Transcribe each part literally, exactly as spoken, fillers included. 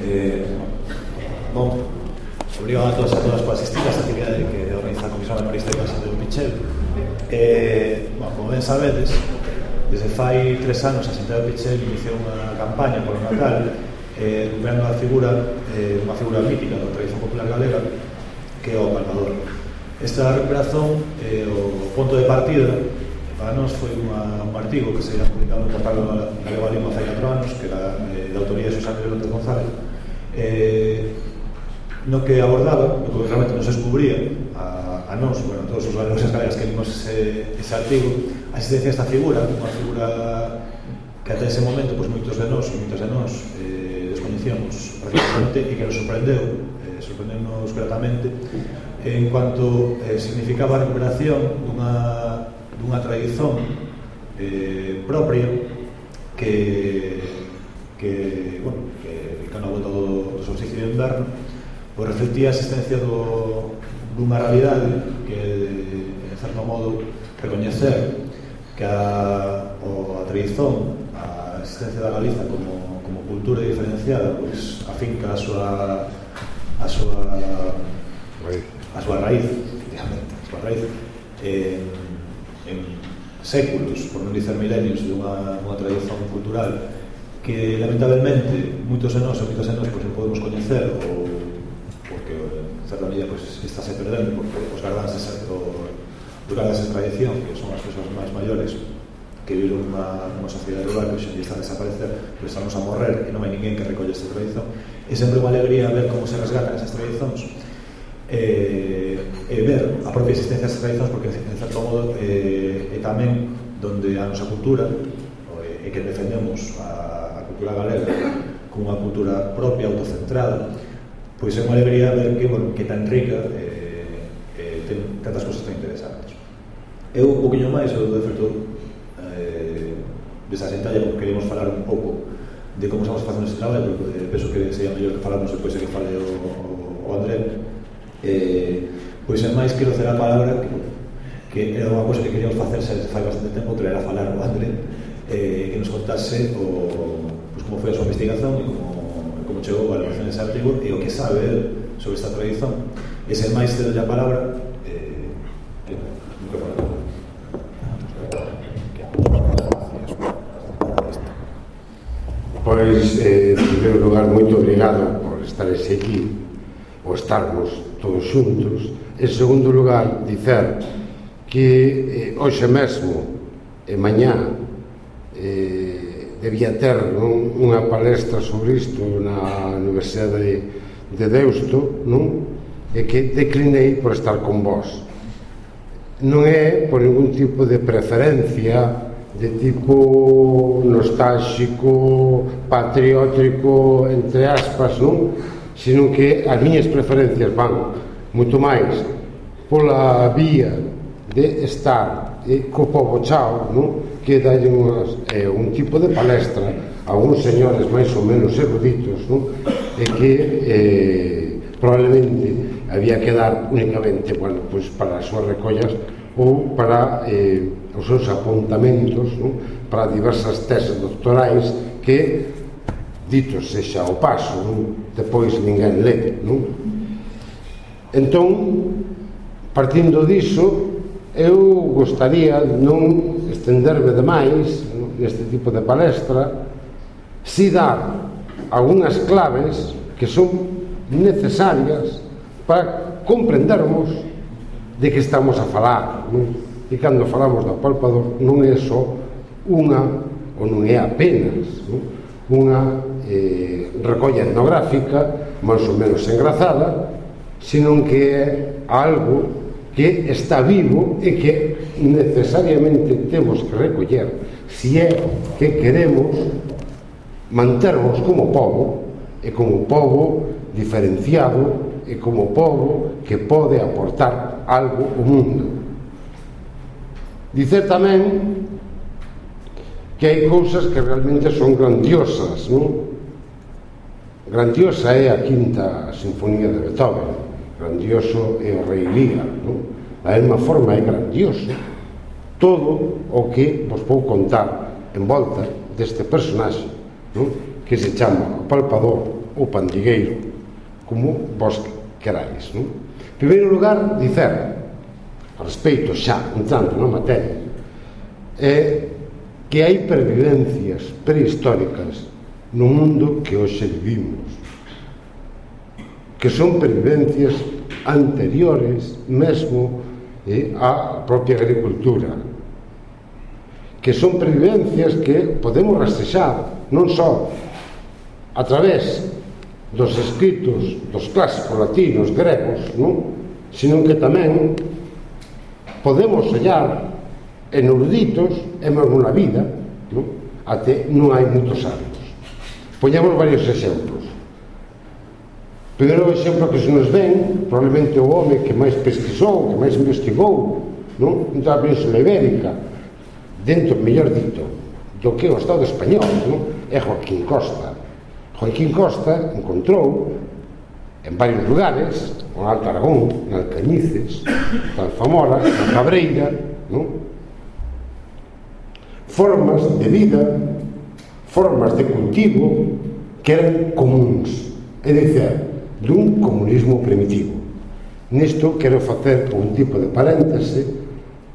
Eh, bon, obrigado a todos e a todas por asistir a esta actividade que organiza a Comisión Memorista de Santiago de Pichel. Eh, bueno, como ben sabedes, desde fai tres anos a Santiago de Pichel iniciou unha campaña por o Natal eh, recuperando a figura, eh, unha figura mítica da tradición popular galega, que é o palpador. Esta recuperación, eh, o ponto de partida para nós foi unha, un artigo que se ia publicado no portal galego a lingua fai catro anos, que era eh, de autoría de Susana López González, eh, no que abordaba, no que realmente nos descubría a, a nós, bueno, a todos os galegos e galegas que vimos ese, ese artigo, a existencia desta figura, unha figura que até ese momento pues, moitos de nós, moitos de nós eh, descoñecíamos prácticamente e que nos sorprendeu, eh, sorprendeu-nos gratamente en cuanto eh, significaba a recuperación dunha, dunha tradición eh, propia que, que, bueno, que cando a volta do, do solsticio de inverno pois reflectía a existencia do, dunha realidade que, en certo modo, recoñecer que a, o, a tradición, a existencia da Galiza como, como cultura diferenciada, pois afinca a súa a súa a súa raíz, efectivamente, a súa raíz en, en séculos, por non dizer milenios, dunha, dunha tradición cultural que, lamentablemente, moitos de nós e moitos de nós pois, non podemos coñecer ou porque, en certa medida, pois, está se perdendo porque os gardáns de os gardáns de tradición, que son as persoas máis maiores que viven nunha, nunha sociedade rural que hoxe está a desaparecer, pero estamos a morrer e non hai ninguén que recolle esta tradición. É sempre unha alegría ver como se resgatan esas tradicións e, e ver a propia existencia desas tradicións, porque, en certo modo, é, é tamén donde a nosa cultura e que defendemos a, a cultura galega como unha cultura propia, autocentrada, pois é unha alegría ver que, bueno, que tan rica eh, eh, ten tantas cosas tan interesantes. Eu un poquinho máis, eu de feito eh, desa sentalla, porque queremos falar un pouco de como estamos facendo ese traballo, porque penso que sería mellor que falamos depois de que fale o, o, o André. Eh, pois é máis quero hacer a palabra que, que era unha cosa que queríamos facer se fai bastante tempo, que era falar o André, eh, que nos contase o, pues, como foi a súa investigación e como, como chegou a elaboración dese artigo e o que sabe ele sobre esta tradición. E sen máis cedo a palabra eh, que micrófono. Pois, eh, en primeiro lugar, moito obrigado por estar aquí, ou estarmos todos xuntos. En segundo lugar, dicer que eh, hoxe mesmo e mañá eh, debía ter non, unha palestra sobre isto na Universidade de, de Deusto, non? E que declinei por estar con vós. Non é por ningún tipo de preferencia de tipo nostálxico, patriótico, entre aspas, non? Sino que as miñas preferencias van moito máis pola vía de estar eh, co povo chao, non? Que dalle unhas, eh, un tipo de palestra a uns señores máis ou menos eruditos, non? E que eh, probablemente había que dar únicamente, bueno, pues para as súas recollas ou para eh, os seus apuntamentos, non? Para diversas teses doctorais que, dito sexa o paso, non? Depois ninguén lê, non? Entón, partindo diso, eu gostaría non estenderme demais neste tipo de palestra, si dar algunhas claves que son necesarias para comprendermos de que estamos a falar, non? E cando falamos do palpador non é só unha, ou non é apenas, non? Unha eh, recolla etnográfica máis ou menos engrazada, senón que é algo que está vivo e que necesariamente temos que recoller se é que queremos manternos como povo e como povo diferenciado e como povo que pode aportar algo ao mundo. Dicer tamén que hai cousas que realmente son grandiosas, non? Grandiosa é a quinta sinfonía de Beethoven, grandioso é o Rei Lear, non? Da mesma forma é grandioso todo o que vos vou contar en volta deste personaxe, non? Que se chama o palpador ou pandigueiro, como vos queráis, non? En primeiro lugar, dicer, a respeito xa, entrando na materia, é que hai pervivencias prehistóricas no mundo que hoxe vivimos, que son pervivencias anteriores mesmo eh, á propia agricultura, que son pervivencias que podemos rastrexar non só a través dos escritos dos clásicos latinos, gregos, non? Sino que tamén podemos ollar en eruditos e mesmo na vida, non? Até non hai moitos anos. Poñamos varios exemplos. O primeiro exemplo que se nos ven, probablemente o home que máis pesquisou, que máis investigou, non? Então a Península Ibérica, dentro, mellor dito, do que o Estado español, non? É Joaquín Costa. Joaquín Costa encontrou en varios lugares, en Alto Aragón, en Alcañices, en Alfamora, en Cabreira, non? Formas de vida, formas de cultivo que eran comuns, é dicir, dun comunismo primitivo. Nisto quero facer un tipo de paréntese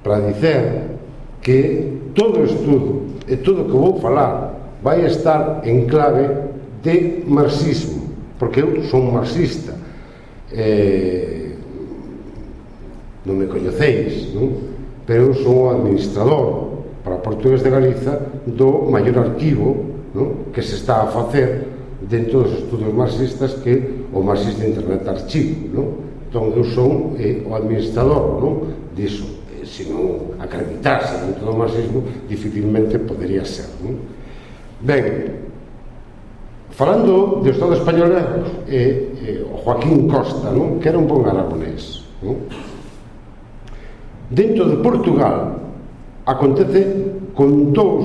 para dicer que todo estudo e todo o que vou falar vai estar en clave de marxismo, porque eu son marxista. Eh, non me coñeceis, non? Pero eu son o administrador para Portugués de Galiza do maior arquivo, non? Que se está a facer dentro dos estudos marxistas, que o Marxista Internet Archivo, non? Entón eu son eh, o administrador, non? Diso. Eh, se non acreditarse dentro do marxismo, dificilmente podería ser, non? Ben, falando do Estado español, eh, eh, o Joaquín Costa, non? Que era un bon aragonés, non? Dentro de Portugal acontece con dous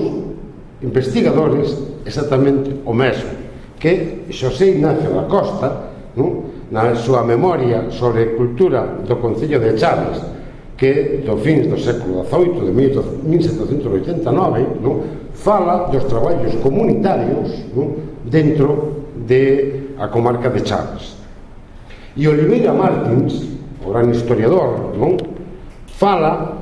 investigadores exactamente o mesmo, que Xosé Ignacio da Costa, non? Na súa memoria sobre cultura do Concello de Chaves, que do fins do século dezoito, de mil setecentos oitenta e nove, non? Fala dos traballos comunitarios, non? Dentro de a comarca de Chaves. E Oliveira Martins, o gran historiador, non? Fala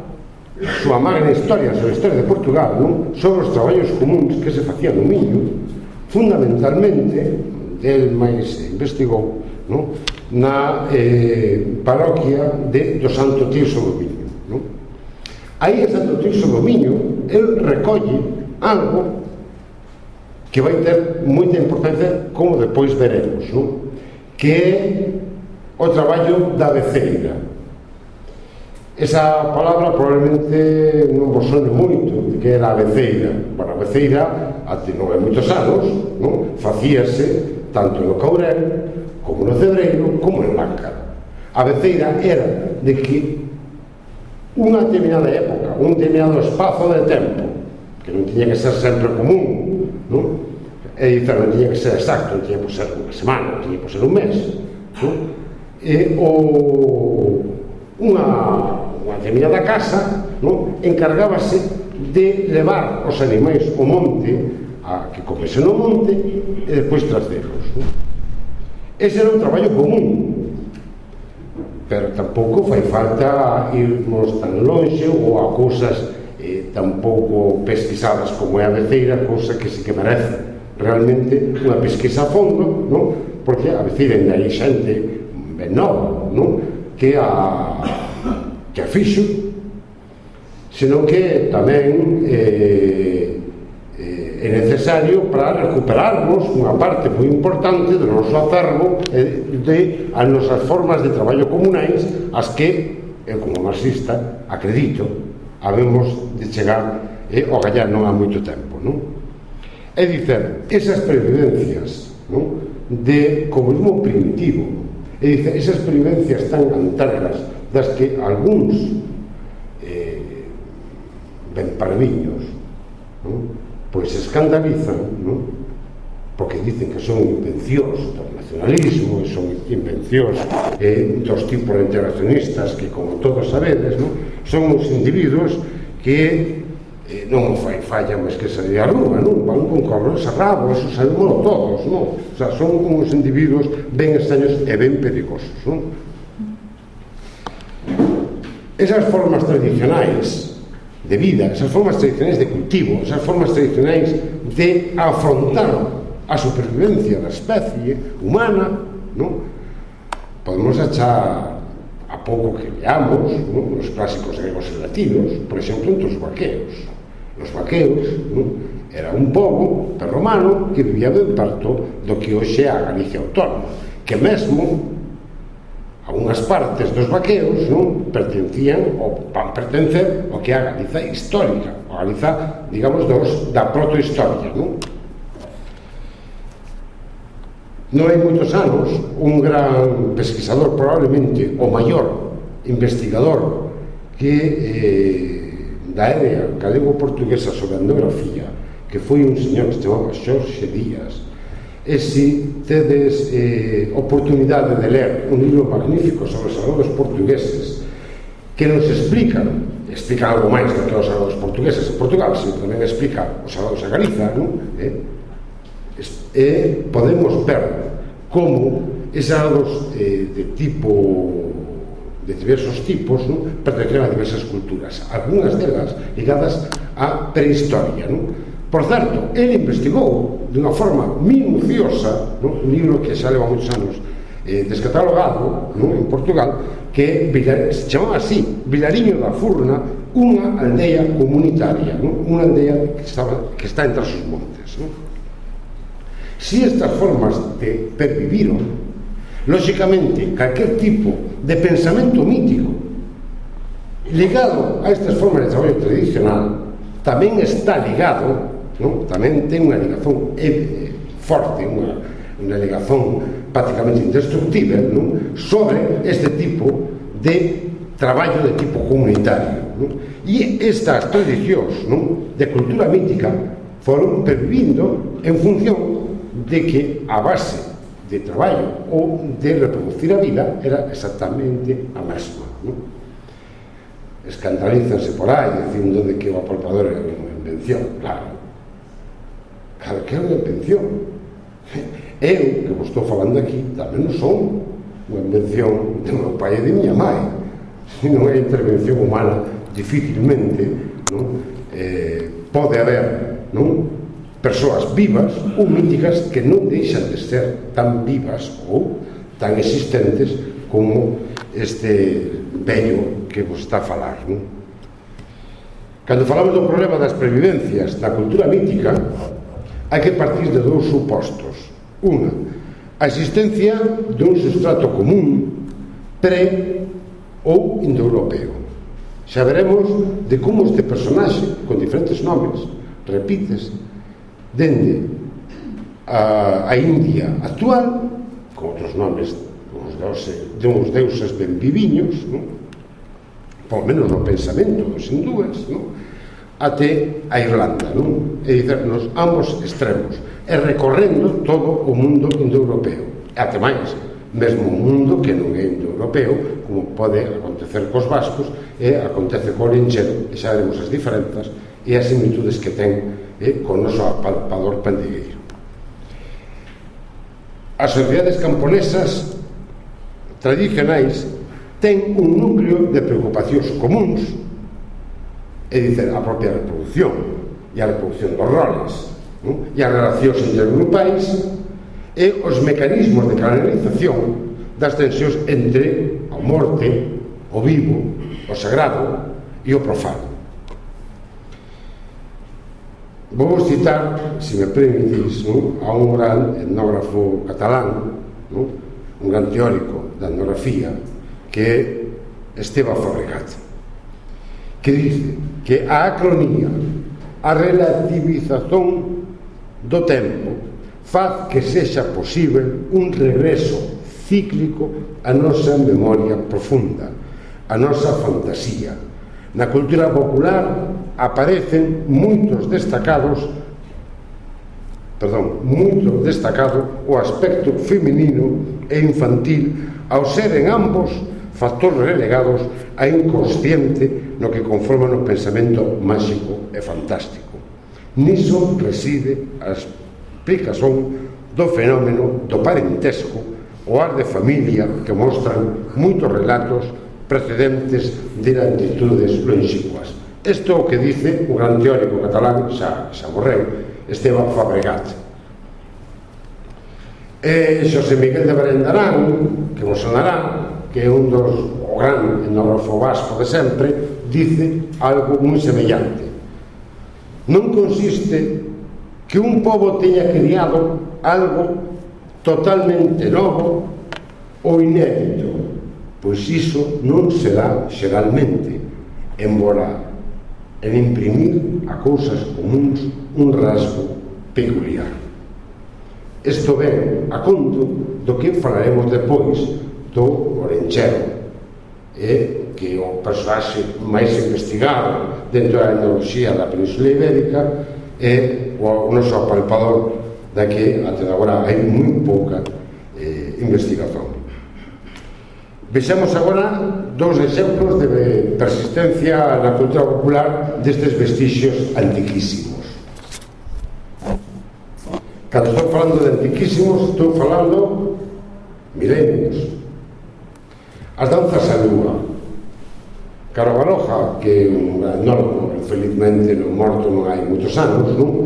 a súa magna historia sobre a historia de Portugal, non? Sobre os traballos comuns que se facían no Miño, fundamentalmente, del máis investigou, non? Na eh, parroquia de, do Santo Tirso do Miño, non? Aí en Santo Tirso do Miño el recolle algo que vai ter moita importancia, como depois veremos, non? Que é o traballo da beceira. Esa palabra probablemente non vos sone moito de que era a beceira. Bueno, a beceira, até non hai moitos anos, non? Facíase tanto no Caurel, como no Cebreiro, como en Láncara. A beceira era de que unha determinada época, un determinado espazo de tempo, que non tiña que ser sempre común, non? É dicir, non tiña que ser exacto, non tiña que ser unha semana, non tiña que ser un mes, non? E o unha unha determinada casa, non? Encargábase de levar os animais ao monte, a que comesen no monte, e despois tracelos, non? Ese era un traballo común, pero tampouco fai falta irmos tan longe ou a cousas eh, tampouco pesquisadas como é a beceira, cousa que sí que merece realmente unha pesquisa a fondo, non? Porque a beceira ainda hai xente ben nova, non? Que a que a fixo, senón que tamén eh, eh, é necesario para recuperarmos unha parte moi importante do noso acervo eh, de as nosas formas de traballo comunais, as que, eu como marxista, acredito, habemos de chegar eh, ao gallar non há moito tempo, non? É dicer, esas previvencias, non? De comunismo primitivo, é dicer, esas previvencias tan antergas das que algúns eh, ben parviños, non? Pois se escandalizan, non? Porque dicen que son invencións do nacionalismo, son invencións eh, dos tipos integracionistas que, como todos sabedes, non? Son uns individuos que eh, non fai falla máis que salir a rúa, non? Van con cobros a rabo, eso sabémoslo todos, non? O sea, son uns individuos ben extraños e ben perigosos, non? Esas formas tradicionais de vida, esas formas tradicionais de cultivo, esas formas tradicionais de afrontar a supervivencia da especie humana, non? Podemos achar a pouco que leamos, non? Os clásicos gregos e latinos, por exemplo, entre os vaqueos. Os vaqueos, non? Era un pobo prerromano que vivía ben perto do que hoxe é a Galicia autónoma, que mesmo a unhas partes dos vaqueos, non? Pertencían ou van pertencer ao que é a Galiza histórica, a Galiza, digamos, dos, da protohistoria, non? Non hai moitos anos, un gran pesquisador, probablemente o maior investigador que eh, da área galego-portuguesa sobre etnografía, que foi un señor que se chamaba Xorxe Díaz. E se tedes eh, oportunidade de ler un libro magnífico sobre os sagrados portugueses que nos explican, explican algo máis do que os sagrados portugueses en Portugal, sino tamén explica os sagrados a Galiza, non? Eh? E podemos ver como esos sagrados eh, de tipo de diversos tipos, non? Pertencen a diversas culturas, algunhas delas ligadas á prehistoria, non? Por certo, ele investigou de unha forma minuciosa, non? Un libro que xa leva moitos anos eh, descatalogado, non? En Portugal, que se chamaba así, Vilariño da Furna, unha aldea comunitaria, non? Unha aldea que, estaba, que está entre os montes, non? Si estas formas de perviviron, lógicamente, calquer tipo de pensamento mítico ligado a estas formas de traballo tradicional tamén está ligado, non? Tamén ten unha ligazón eh, forte, unha, unha ligazón prácticamente indestructível, non? Sobre este tipo de traballo de tipo comunitario, non? E estas tradicións, non? De cultura mítica foron pervivindo en función de que a base de traballo ou de reproducir a vida era exactamente a mesma, non? Escandalízanse por aí dicindo de que o apalpador era unha invención. Claro, claro que era unha invención. Eu, que vos estou falando aquí, tamén non son unha invención de meu pai e de miña mãe. Se non é intervención humana, dificilmente, non? Eh, pode haber, non? Persoas vivas ou míticas que non deixan de ser tan vivas ou tan existentes como este vello que vos está a falar, non? Cando falamos do problema das previvencias da cultura mítica, hai que partir de dous supostos. Unha, a existencia dun substrato común pre ou indoeuropeo. Xa veremos de como este personaxe, con diferentes nomes, repítese, dende a, a India actual, con outros nomes de uns deuses ben viviños, non? Por menos no pensamento dos hindúes, non? Até a Irlanda, non? E dicirnos ambos extremos, e recorrendo todo o mundo indoeuropeo, e até máis, mesmo un mundo que non é indoeuropeo, como pode acontecer cos vascos e acontece co olenchero, e xa veremos as diferenzas e as similitudes que ten eh, con o noso apalpador pandigueiro. As sociedades camponesas tradicionais ten un núcleo de preocupacións comuns, é dicir, a propia reproducción e a reproducción dos roles, non? E as relacións intergrupais e os mecanismos de canalización das tensións entre a morte, o vivo, o sagrado e o profano. Vou citar, se me permitís, non? A un gran etnógrafo catalán, non? Un gran teórico da etnografía, que é Esteve Fabregat, que dice que a acronía, a relativización do tempo, faz que sexa posible un regreso cíclico á nosa memoria profunda, a nosa fantasía. Na cultura popular aparecen moitos destacados perdón, moito destacado o aspecto feminino e infantil ao ser en ambos factores relegados a inconsciente no que conforman o pensamento máxico e fantástico. Niso reside a explicación do fenómeno do parentesco ou ar de familia que mostran moitos relatos precedentes de atitudes lonxiguas. Isto é o que dice un gran teórico catalán, xa, xa morreu, Esteban Fabregat. E Xosé Miguel de Barendarán, que vos sonará, que é un dos, o gran etnógrafo vasco de sempre, dice algo moi semellante. Non consiste que un pobo teña criado algo totalmente novo ou inédito, pois iso non se dá xeralmente, embora en imprimir a cousas comuns un rasgo peculiar. Isto ven a conto do que falaremos depois do Orenchero, e que é o personaxe máis investigado dentro da etnoloxía da Península Ibérica e o noso apalpador da que até agora hai moi pouca eh, investigación. Vexamos agora dous exemplos de persistencia na cultura popular destes vestixios antiquísimos. Cando estou falando de antiquísimos, estou falando milenios. As danzas á lúa. Caro Baroja, que non, felizmente non morto non hai moitos anos, non?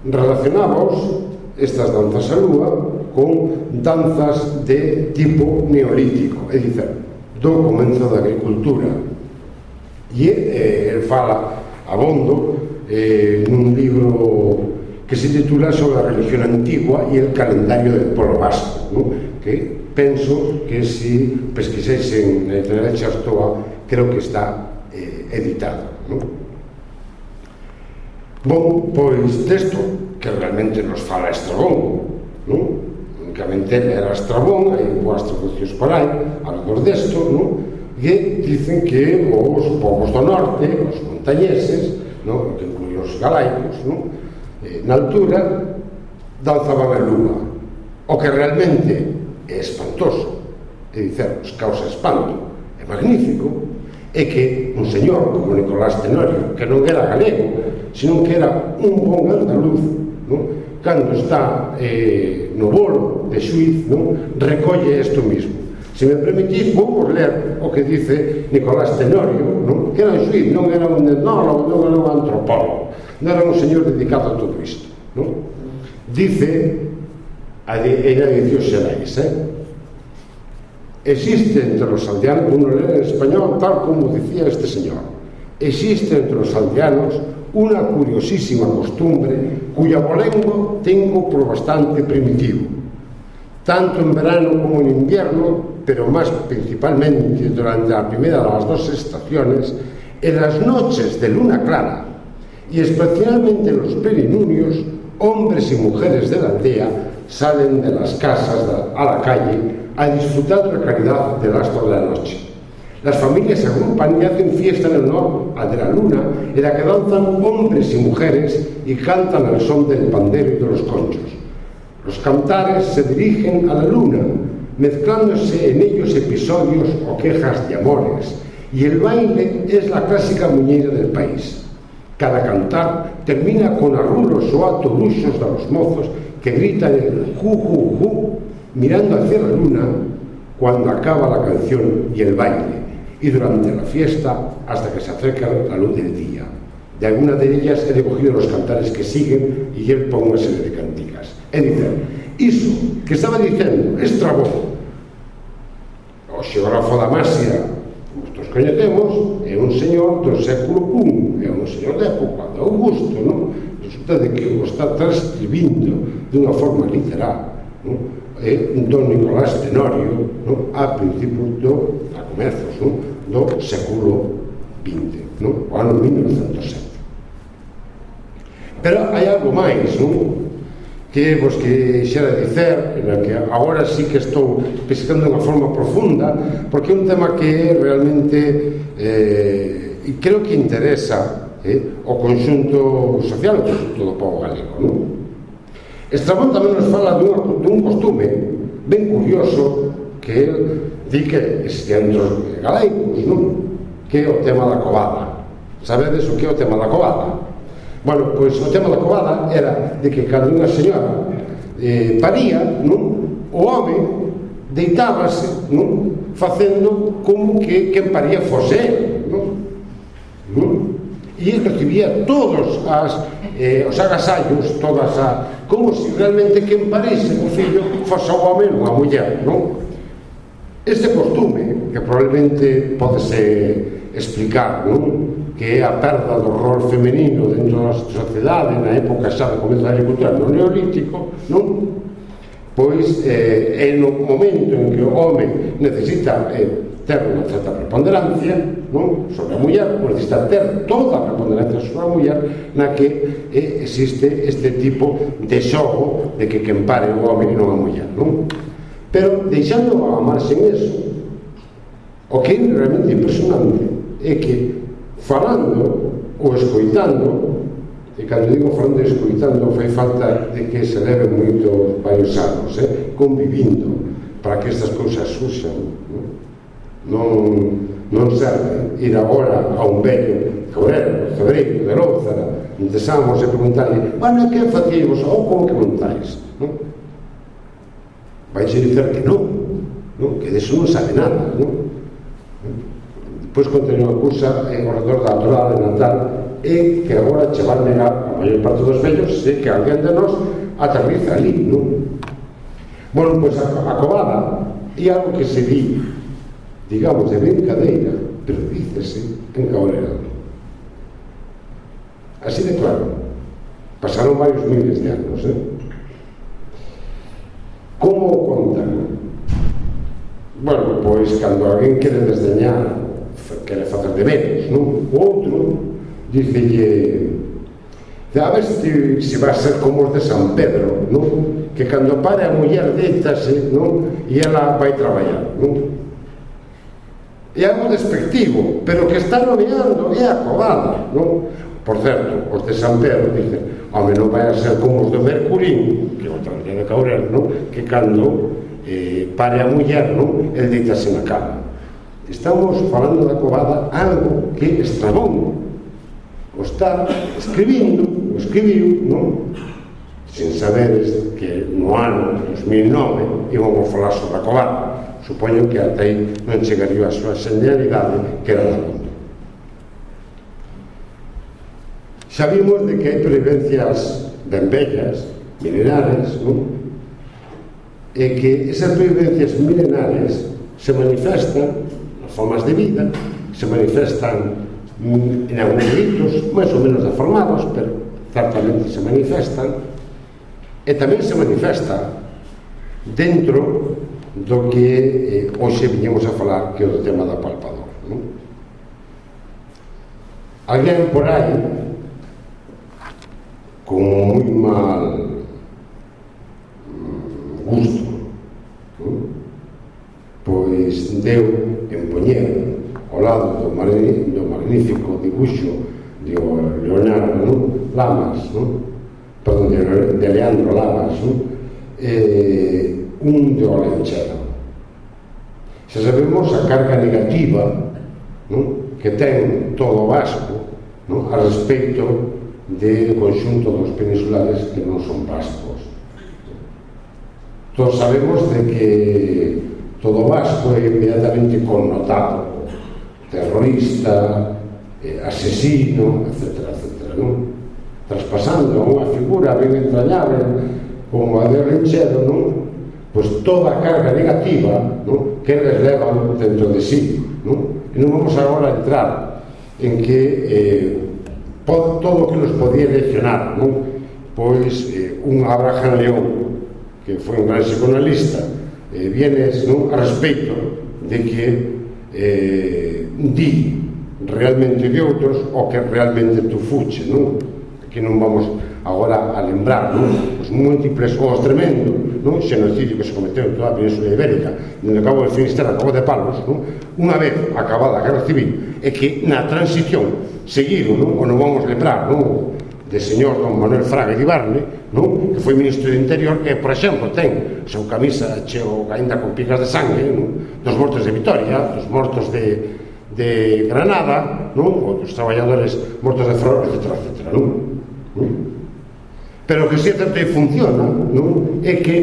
Relacionábamos estas danzas á lúa con danzas de tipo neolítico, é dicir, do comenzo da agricultura. E eh, el fala abondo eh, nun libro que se titula sobre a religión antigua e el calendario del pueblo vasco, ¿no? Que penso que se pesquiseis en la editorial de Chartoa, creo que está eh, editado, ¿no? Bon, pois texto que realmente nos fala Estrabón, ¿no? Únicamente era Estrabón, hai boas traduccións por aí alrededor desto, ¿no? E dicen que os povos do norte, os montañeses, ¿no? Que incluye os galaicos, ¿no? Eh, na altura danzaban a lúa, o que realmente é espantoso, é dicer, os causa espanto, é magnífico, é que un señor como Nicolás Tenorio, que non era galego, senón que era un bon andaluz, ¿no? Cando está eh, no bolo de Xuiz, ¿no? Recolle isto mismo. Se me permitís, vou ler o que dice Nicolás Tenorio, ¿no? Que era un Xuiz, non era un etnólogo, non era un antropólogo, non era un señor dedicado a todo isto, ¿no? Dice a edición Xerais, eh? Existe entre los aldeanos, uno lee en español tal como decía este señor, existe entre los aldeanos una curiosísima costumbre cuyo abolengo tengo por bastante primitivo, tanto en verano como en invierno, pero más principalmente durante la primera de las dos estaciones, en las noches de luna clara, y especialmente en los plenilunios, hombres y mujeres de la aldea salen de las casas a la calle a disfrutar de la claridad del astro de la noche. Las familias se agrupan y hacen fiesta en honor a de la luna, en la que danzan hombres y mujeres y cantan al son del pandero y de los conchos. Los cantares se dirigen a la luna, mezclándose en ellos episodios o quejas de amores, y el baile es la clásica muñeira del país. Cada cantar termina con arrulos o atoruxos de los mozos que gritan el ju, ju, ju, mirando hacia la luna cuando acaba la canción y el baile, y durante la fiesta hasta que se acerca la luz del día. De alguna de ellas he recogido los cantares que siguen y él pone una serie de cantigas. É dicir, iso que estaba dicendo Estrabón, o xeógrafo da Masia, como todos coñecemos, é un señor do século primero, é un señor de época de Augusto, non? Resulta de que o está transcribindo dunha forma literal, non? É don Nicolás Tenorio, non? A principios do, a comezos, non? Do século vinte, non? O ano mil novecentos e sete. Pero hai algo máis, non? Que vos que xera dicer, na que agora sí que estou pescando de unha forma profunda, porque é un tema que realmente eh, e creo que interesa eh, o conxunto social, o conxunto do povo galego, non? Estrabón tamén nos fala dun, dun costume ben curioso que el di que existía entre os galaicos, non? Que é o tema da covada. Sabedes o que é o tema da covada? Bueno, pois o tema da covada era de que cando unha señora eh, paría, non? O home deitábase, non? Facendo como que quen paría fose él, non? Non? E ele recibía todos as, eh, os agasallos, todas a, como se realmente quen parise o fillo fose o home non a muller, non? Este costume, que probablemente podese explicar, non? Que é a perda do rol femenino dentro da sociedade na época xa do comezo da agricultura no neolítico, non? Pois eh, é no momento en que o home necesita eh, ter unha certa preponderancia, non? Sobre a muller, necesita ter toda a preponderancia sobre a muller, na que eh, existe este tipo de xogo de que quen pare o home e non a muller, non? Pero deixando a marxen eso, o que é realmente impresionante é que falando ou escoitando, e cando digo falando e escoitando fai falta de que se leve moito varios anos, eh? Convivindo para que estas cousas surxan, non, non serve ir agora a un vello cabrero, cebreiro, de Lózara, intesamos e preguntarle, bueno, que facíamos, ou como que montáis, non? Vais a dizer que non, non? Que deso non sabe nada, non? Depois contei unha cousa en redor da Torá de Natal e que agora che van negar a maior parte dos vellos se que alguén de nós aterriza ali, non? Bueno, pois a, a covada é algo que se di, digamos, de brincadeira, pero dícese en Cabrera. Así de claro. Pasaron varios miles de anos, eh? Como o contan? Bueno, pois cando alguén quere desdeñar, quere facer de menos, non? O outro dicelle, a ver se, se vai ser como os de San Pedro, non? Que cando pare a muller deitase, non? E ela vai traballar, non? É algo despectivo, pero que está nomeando é a covada, non? Por certo, os de San Pedro dicen, home, non vai a ser como os de Mercurín, que é outra aldea de Caurel, non? Que cando eh, pare a muller, non? El deitase na cama. Estamos falando da covada algo que Estrabón o está escribindo, o escribiu, non? Sin saberes que no ano dos mil nove íbamos a falar sobre a covada. Supoño que até aí non chegaría a súa señalidade que era da mundo. Xa vimos de que hai previvencias ben bellas, milenares, non? E que esas previvencias milenares se manifestan nas formas de vida, se manifestan en algúns ritos máis ou menos deformados, pero certamente se manifestan, e tamén se manifesta dentro do que eh, hoxe viñemos a falar, que é o tema da palpadora, non? Alguén por aí con moi mal gusto, non? Pois deu en poñer ao lado do, do magnífico dibuixo de Leonardo, non? Lamas, non? Perdón, de Leandro Lamas, non? Eh, un de Olenchero. Se sabemos a carga negativa, non? Que ten todo o vasco, non? A respecto do conxunto dos peninsulares que non son vascos. Todos sabemos de que todo o vasco é inmediatamente connotado terrorista, eh, asesino, etcétera, etcétera, non? Traspasando a unha figura ben entrañable como a de Olenchero, non? Pois toda a carga negativa, non? Que eles levan dentro de sí, non? E non vamos agora a entrar en que eh, todo o que nos podía leccionar, non? Pois eh, un Abraham León, que foi un gran psicoanalista, eh, vienes, non? A respecto de que eh, di realmente de outros o que realmente tu fuche, non? Que non vamos agora a lembrar, non? Os múltiples, os tremendo, non? Xenocidio que se cometeu en toda a Península Ibérica, dende o Cabo de Finisterre a Cabo de Palos, non? Unha vez acabada a Guerra Civil, e que na transición seguido, non? O non vamos lembrar, non? De señor don Manuel Fraga de Ibarne, non? Que foi ministro do Interior, que, por exemplo, ten o seu camisa cheo ainda con picas de sangue, non? Dos mortos de Vitoria, dos mortos de, de Granada, non? Ou dos traballadores mortos de Ferrol, etcétera, etcétera, non? Pero que si é certo e funciona, non? É que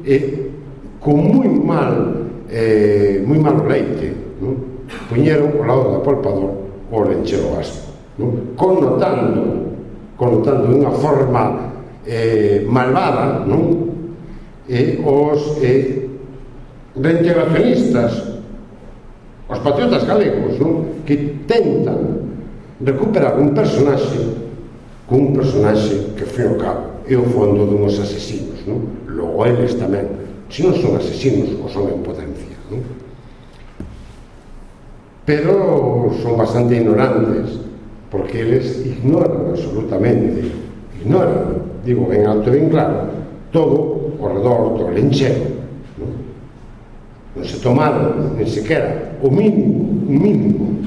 eh, con moi mal eh, moi malo leite, non? Puñeron ao lado da polpador o lenchero vasco, non? Connotando connotando de unha forma eh, malvada, non? E os eh, reintegracionistas, os patriotas galegos, non? Que tentan recuperar un personaxe con un personaxe que, fin ao cabo, é o fondo dunhos asesinos, non? Logo eles tamén, se non son asesinos, ou son en potencia, non? Pero son bastante ignorantes, porque eles ignoran absolutamente, ignoran, digo ben alto e ben claro, todo ao redor do lenchero, non? Non se tomaron, nin sequera, o mínimo, mínimo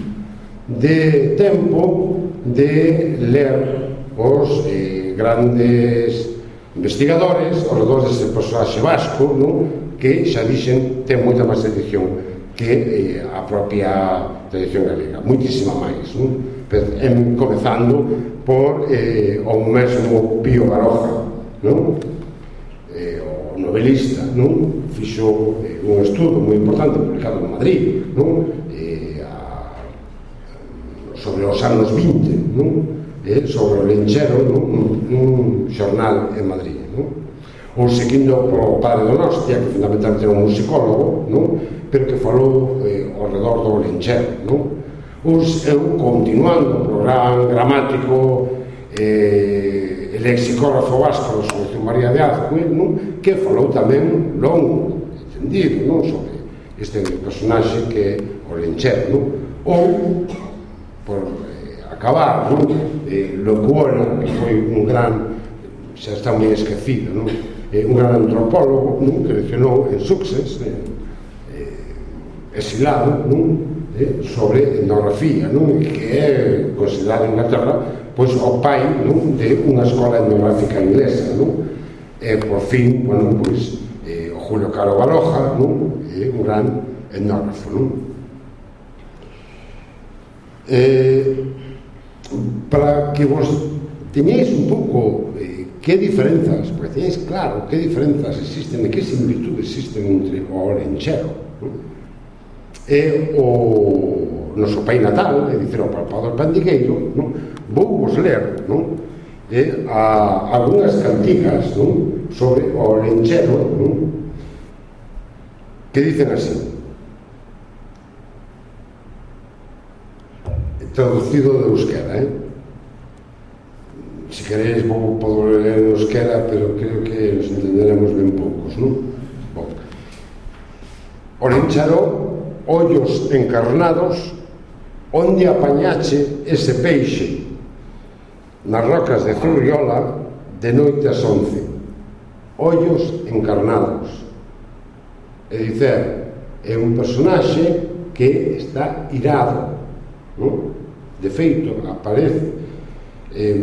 de tempo de ler os eh, grandes investigadores ao redor dese personaxe vasco, non? Que xa dixen ten moita máis tradición que eh, a propia tradición galega, moitísima máis, non? En, comezando por eh, o mesmo Pío Baroja, non? Eh, o novelista, non? Fixo eh, un estudo moi importante publicado en Madrid, non? Eh, a, sobre os anos vinte, non? Eh, sobre o lenchero nun, nun xornal en Madrid, non? Ou seguindo pro padre Donostia, que fundamentalmente era un musicólogo, non? Pero que falou eh, ao redor do lenchero, non? Ou eu continuando pro gran gramático eh, e lexicógrafo vasco da Solución María de Azcue, non? Que falou tamén longo, entendido, non? Sobre este personaxe que é o lenchero, non? Ou por acabar, non? Eh, Locuona, que foi un gran, xa está moi esquecido, non? Eh, un gran antropólogo, non? Que leccionou en Sussex, eh, eh, exilado, non? Eh, sobre etnografía, non? Que é considerado en Inglaterra pois o pai, non? De unha escola etnográfica inglesa, non? E por fin, bueno, pois eh, o Julio Caro Baroja, non? É un gran etnógrafo, non? Eh, para que vos teñéis un pouco eh, que diferenzas, porque teñéis claro que diferenzas existen e que similitudes existen entre o lenchero, non? E o noso pai natal, é dicir, o palpador pandigueiro, non? Vou vos ler, non? E a algunhas cantigas, non? Sobre o lenchero, non? Que dicen así, traducido de euskera, eh? Si queréis vou podo ler en euskera, pero creo que nos entenderemos ben poucos, non? Bon. O lencharo, ollos encarnados, onde apañache ese peixe? Nas rocas de Zurriola, de noite ás once. Ollos encarnados. É dicer, é un personaxe que está irado, non? De feito, aparece eh,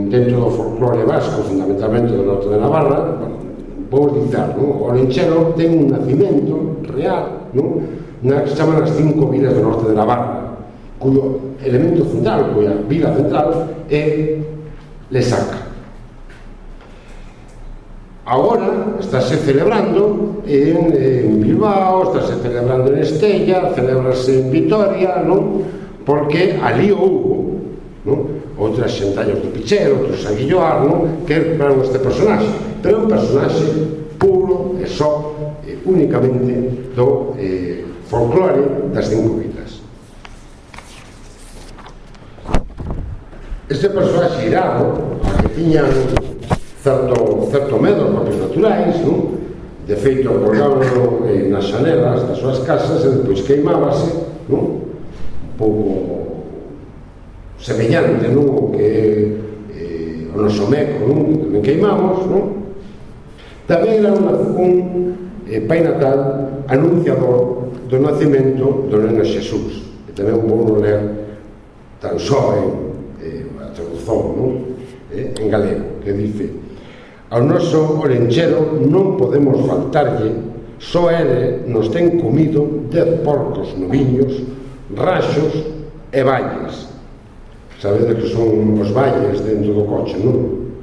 dentro do folclore vasco, fundamentalmente do norte de Navarra. Bueno, vou dizer, non? O lenchero ten un nacimento real, non? Na que se chaman as cinco vilas do norte de Navarra, cuyo elemento central, cuya vila central é Lesaca. Agora estáse celebrando en, en Bilbao, estáse celebrando en Estella, celebrase en Vitoria, non? Porque ali houbo, non? Outras xentallas do Pichero, outros Sanguilloar, non? Que recuperaron este personaxe, pero é un personaxe puro e só, eh, únicamente do eh, folclore das cinco vilas. Este personaxe irado, a que tiñan certo, certo medo aos propios naturais, non? De feito, colgábano eh, nas xanelas das súas casas e depois queimábase, non? Pouco semellante, non? O que eh, o noso meco, non? Que tamén queimamos, non? Tamén era un, un eh, pai natal anunciador do nacimento do neno Xesús, e tamén vou ler tan só en eh, a tradución, non? Eh, en galego, que dice: ao noso olenchero non podemos faltarlle, só ele nos ten comido dez porcos noviños, rachos e valles. Sabedes que son os valles dentro do coche, non?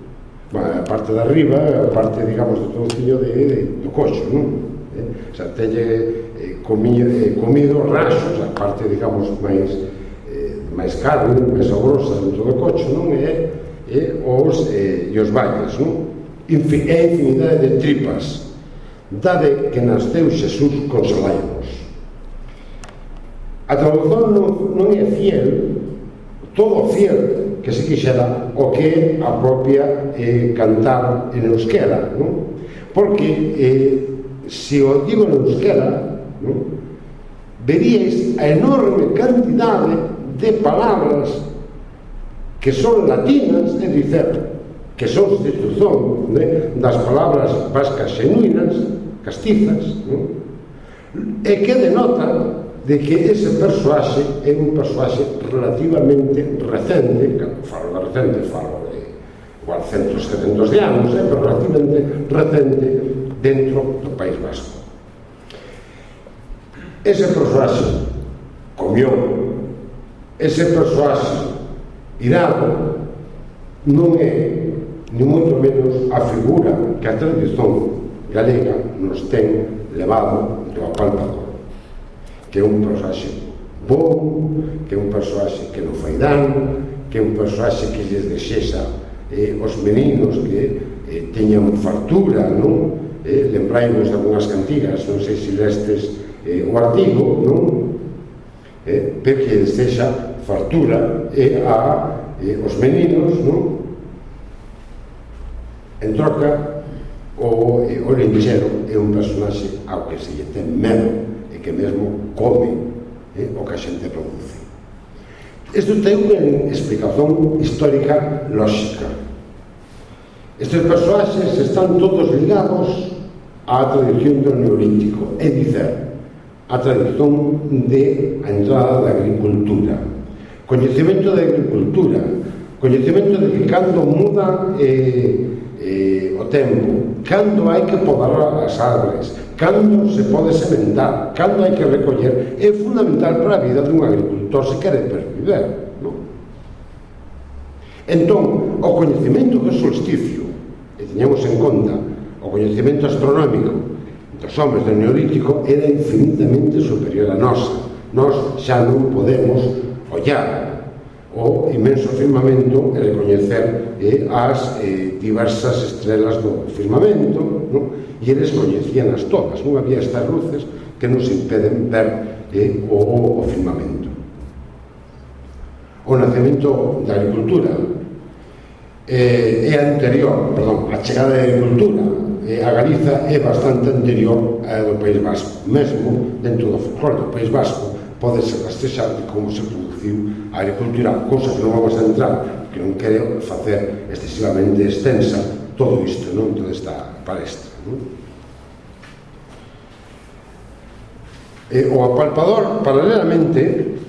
a parte de arriba, a parte, digamos, do tronciño de, de, do coxo, non? Eh? O sea, telle eh, comido, eh, comido raxos, a parte, digamos, máis eh, máis carne, máis saborosa dentro do coxo, non? E, e os, eh, e os valles, non? Infi, é infinidade de tripas. Dade que nasceu Xesús, consolai-nos. A traducción non, non é fiel, todo fiel, que se quixera o que a propia eh, cantar en euskera, non? Porque eh, se o digo en euskera, non? Veríais a enorme cantidade de palabras que son latinas, é dicer, que son sustitución né, das palabras vascas xenuinas, castizas, non? E que denota de que ese persoaxe é un persoaxe relativamente recente, cando falo de recente, falo de igual centos, setentos de anos, eh, pero relativamente recente dentro do País Vasco. Ese persoaxe comió, ese persoaxe irado non é ni moito menos a figura que a tradición galega nos ten levado do apalpador, que é un persoaxe bom, que é un persoaxe que non fai dano, que é un persoaxe que lles desexa eh, os meninos que eh, teñan fartura, non? Eh, lembraimos de algunhas cantigas, non sei se lestes eh, o artigo, non? Eh, pero que desexa fartura e eh, a eh, os meninos, non? En troca, o, eh, o linchero é un personaxe ao que se lle ten medo e que mesmo come eh, o que a xente produce. Isto ten unha explicación histórica lóxica. Estes personaxes están todos ligados á tradición do neolítico, é dicer, a tradición de a entrada da agricultura, coñecemento da agricultura, coñecemento de que cando muda eh, eh, o tempo, cando hai que podar as árboles, cando se pode sementar, cando hai que recoller, é fundamental para a vida dun agricultor se quere perviver, non? Entón, o coñecemento do solsticio, e teñamos en conta o coñecemento astronómico dos homes do neolítico, era infinitamente superior a nosa. Nós xa non podemos ollar o inmenso firmamento e recoñecer eh, as eh, diversas estrelas do firmamento, non? E eles coñecían as todas, non había estas luces que nos impeden ver eh, o, o firmamento. O nacemento da agricultura eh, é anterior, perdón, a chegada da agricultura eh, a Galiza é bastante anterior a do País Vasco. Mesmo dentro do folclore do País Vasco pode ser rastrexar de como se produciu a agricultura, cousa que non vamos a entrar, que non quero facer excesivamente extensa todo isto, non? Toda esta palestra, non? E o apalpador, paralelamente,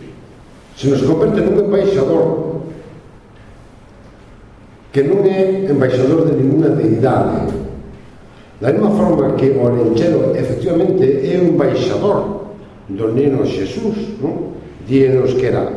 se nos converte nun embaixador que non é embaixador de ninguna deidade. Da mesma forma que o lenchero efectivamente é un embaixador do neno Xesús, non? Díenos que era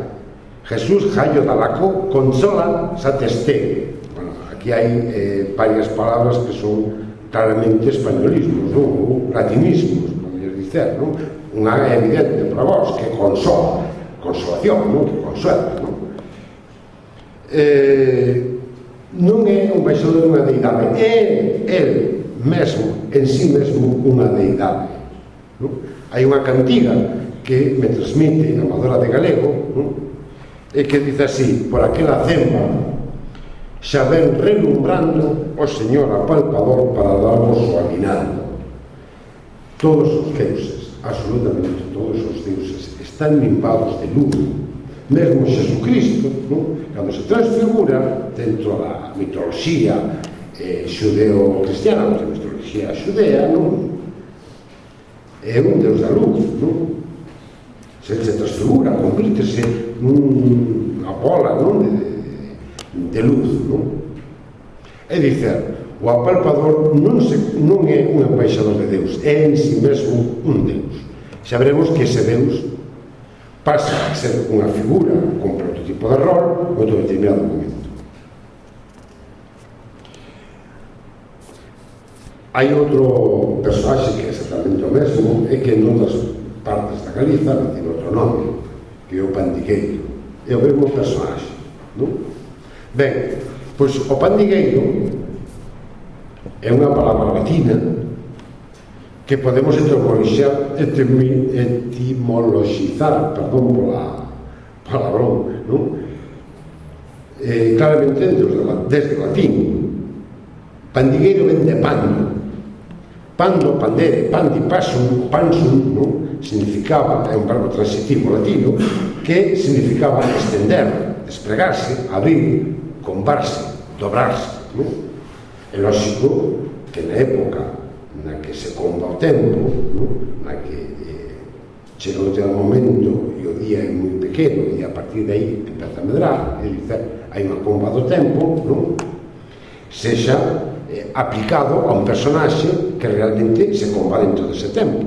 Jesús Jaio Dalacó consola satesté. Bueno, aquí hai eh, varias palabras que son claramente españolismos, non? Ou latinismos, podemos dizer, non? Unha é evidente para vos que consola, consolación, non? Que consuela, non? Eh, non é un embaixador dunha deidade, é el mesmo, en sí mesmo, unha deidade, non? Hai unha cantiga que me transmite a Amadora de Galego, non? E que dice así: por aquela cemba xa ven relumbrando o Señor apalpador para darvos o aguinaldo. Todos os deuses, absolutamente todos os deuses, están nimbados de luz. Mesmo Xesucristo, non? Cando se transfigura dentro da mitoloxía eh, xudeo-cristiana, da mitoloxía xudea, non? É un deus da luz, non? Se se transfigura, convírtese nunha bola, non? De, de, de luz, non? É dicer, o apalpador non, se, non é un embaixador de Deus, é en si mesmo un deus. Xa veremos que ese deus pasa a ser unha figura con prototipo de rol en outro determinado momento. Hai outro personaxe que é exactamente o mesmo e que en outras partes da Galiza tiene outro nome, que é o pandigueiro. É o mesmo personaxe, non? Ben, pois o pandigueiro é unha palabra latina que podemos etimoloxizar, etimologizar, perdón pola palabrón, non? Eh, claramente desde o latín. Pandigueiro ven de pando. Pando, pandere, pandi, pasum, pansum, non? Significaba, é un verbo transitivo latino, que significaba extender, despregarse, abrir, combarse, dobrarse, non? É lógico que na época na que se comba o tempo, non? Na que eh, chega o teu momento e o día é moi pequeno e a partir de aí empeza a medrar, é dizer, hai unha comba do tempo, non? Sexa eh, aplicado a un personaxe que realmente se comba dentro dese tempo.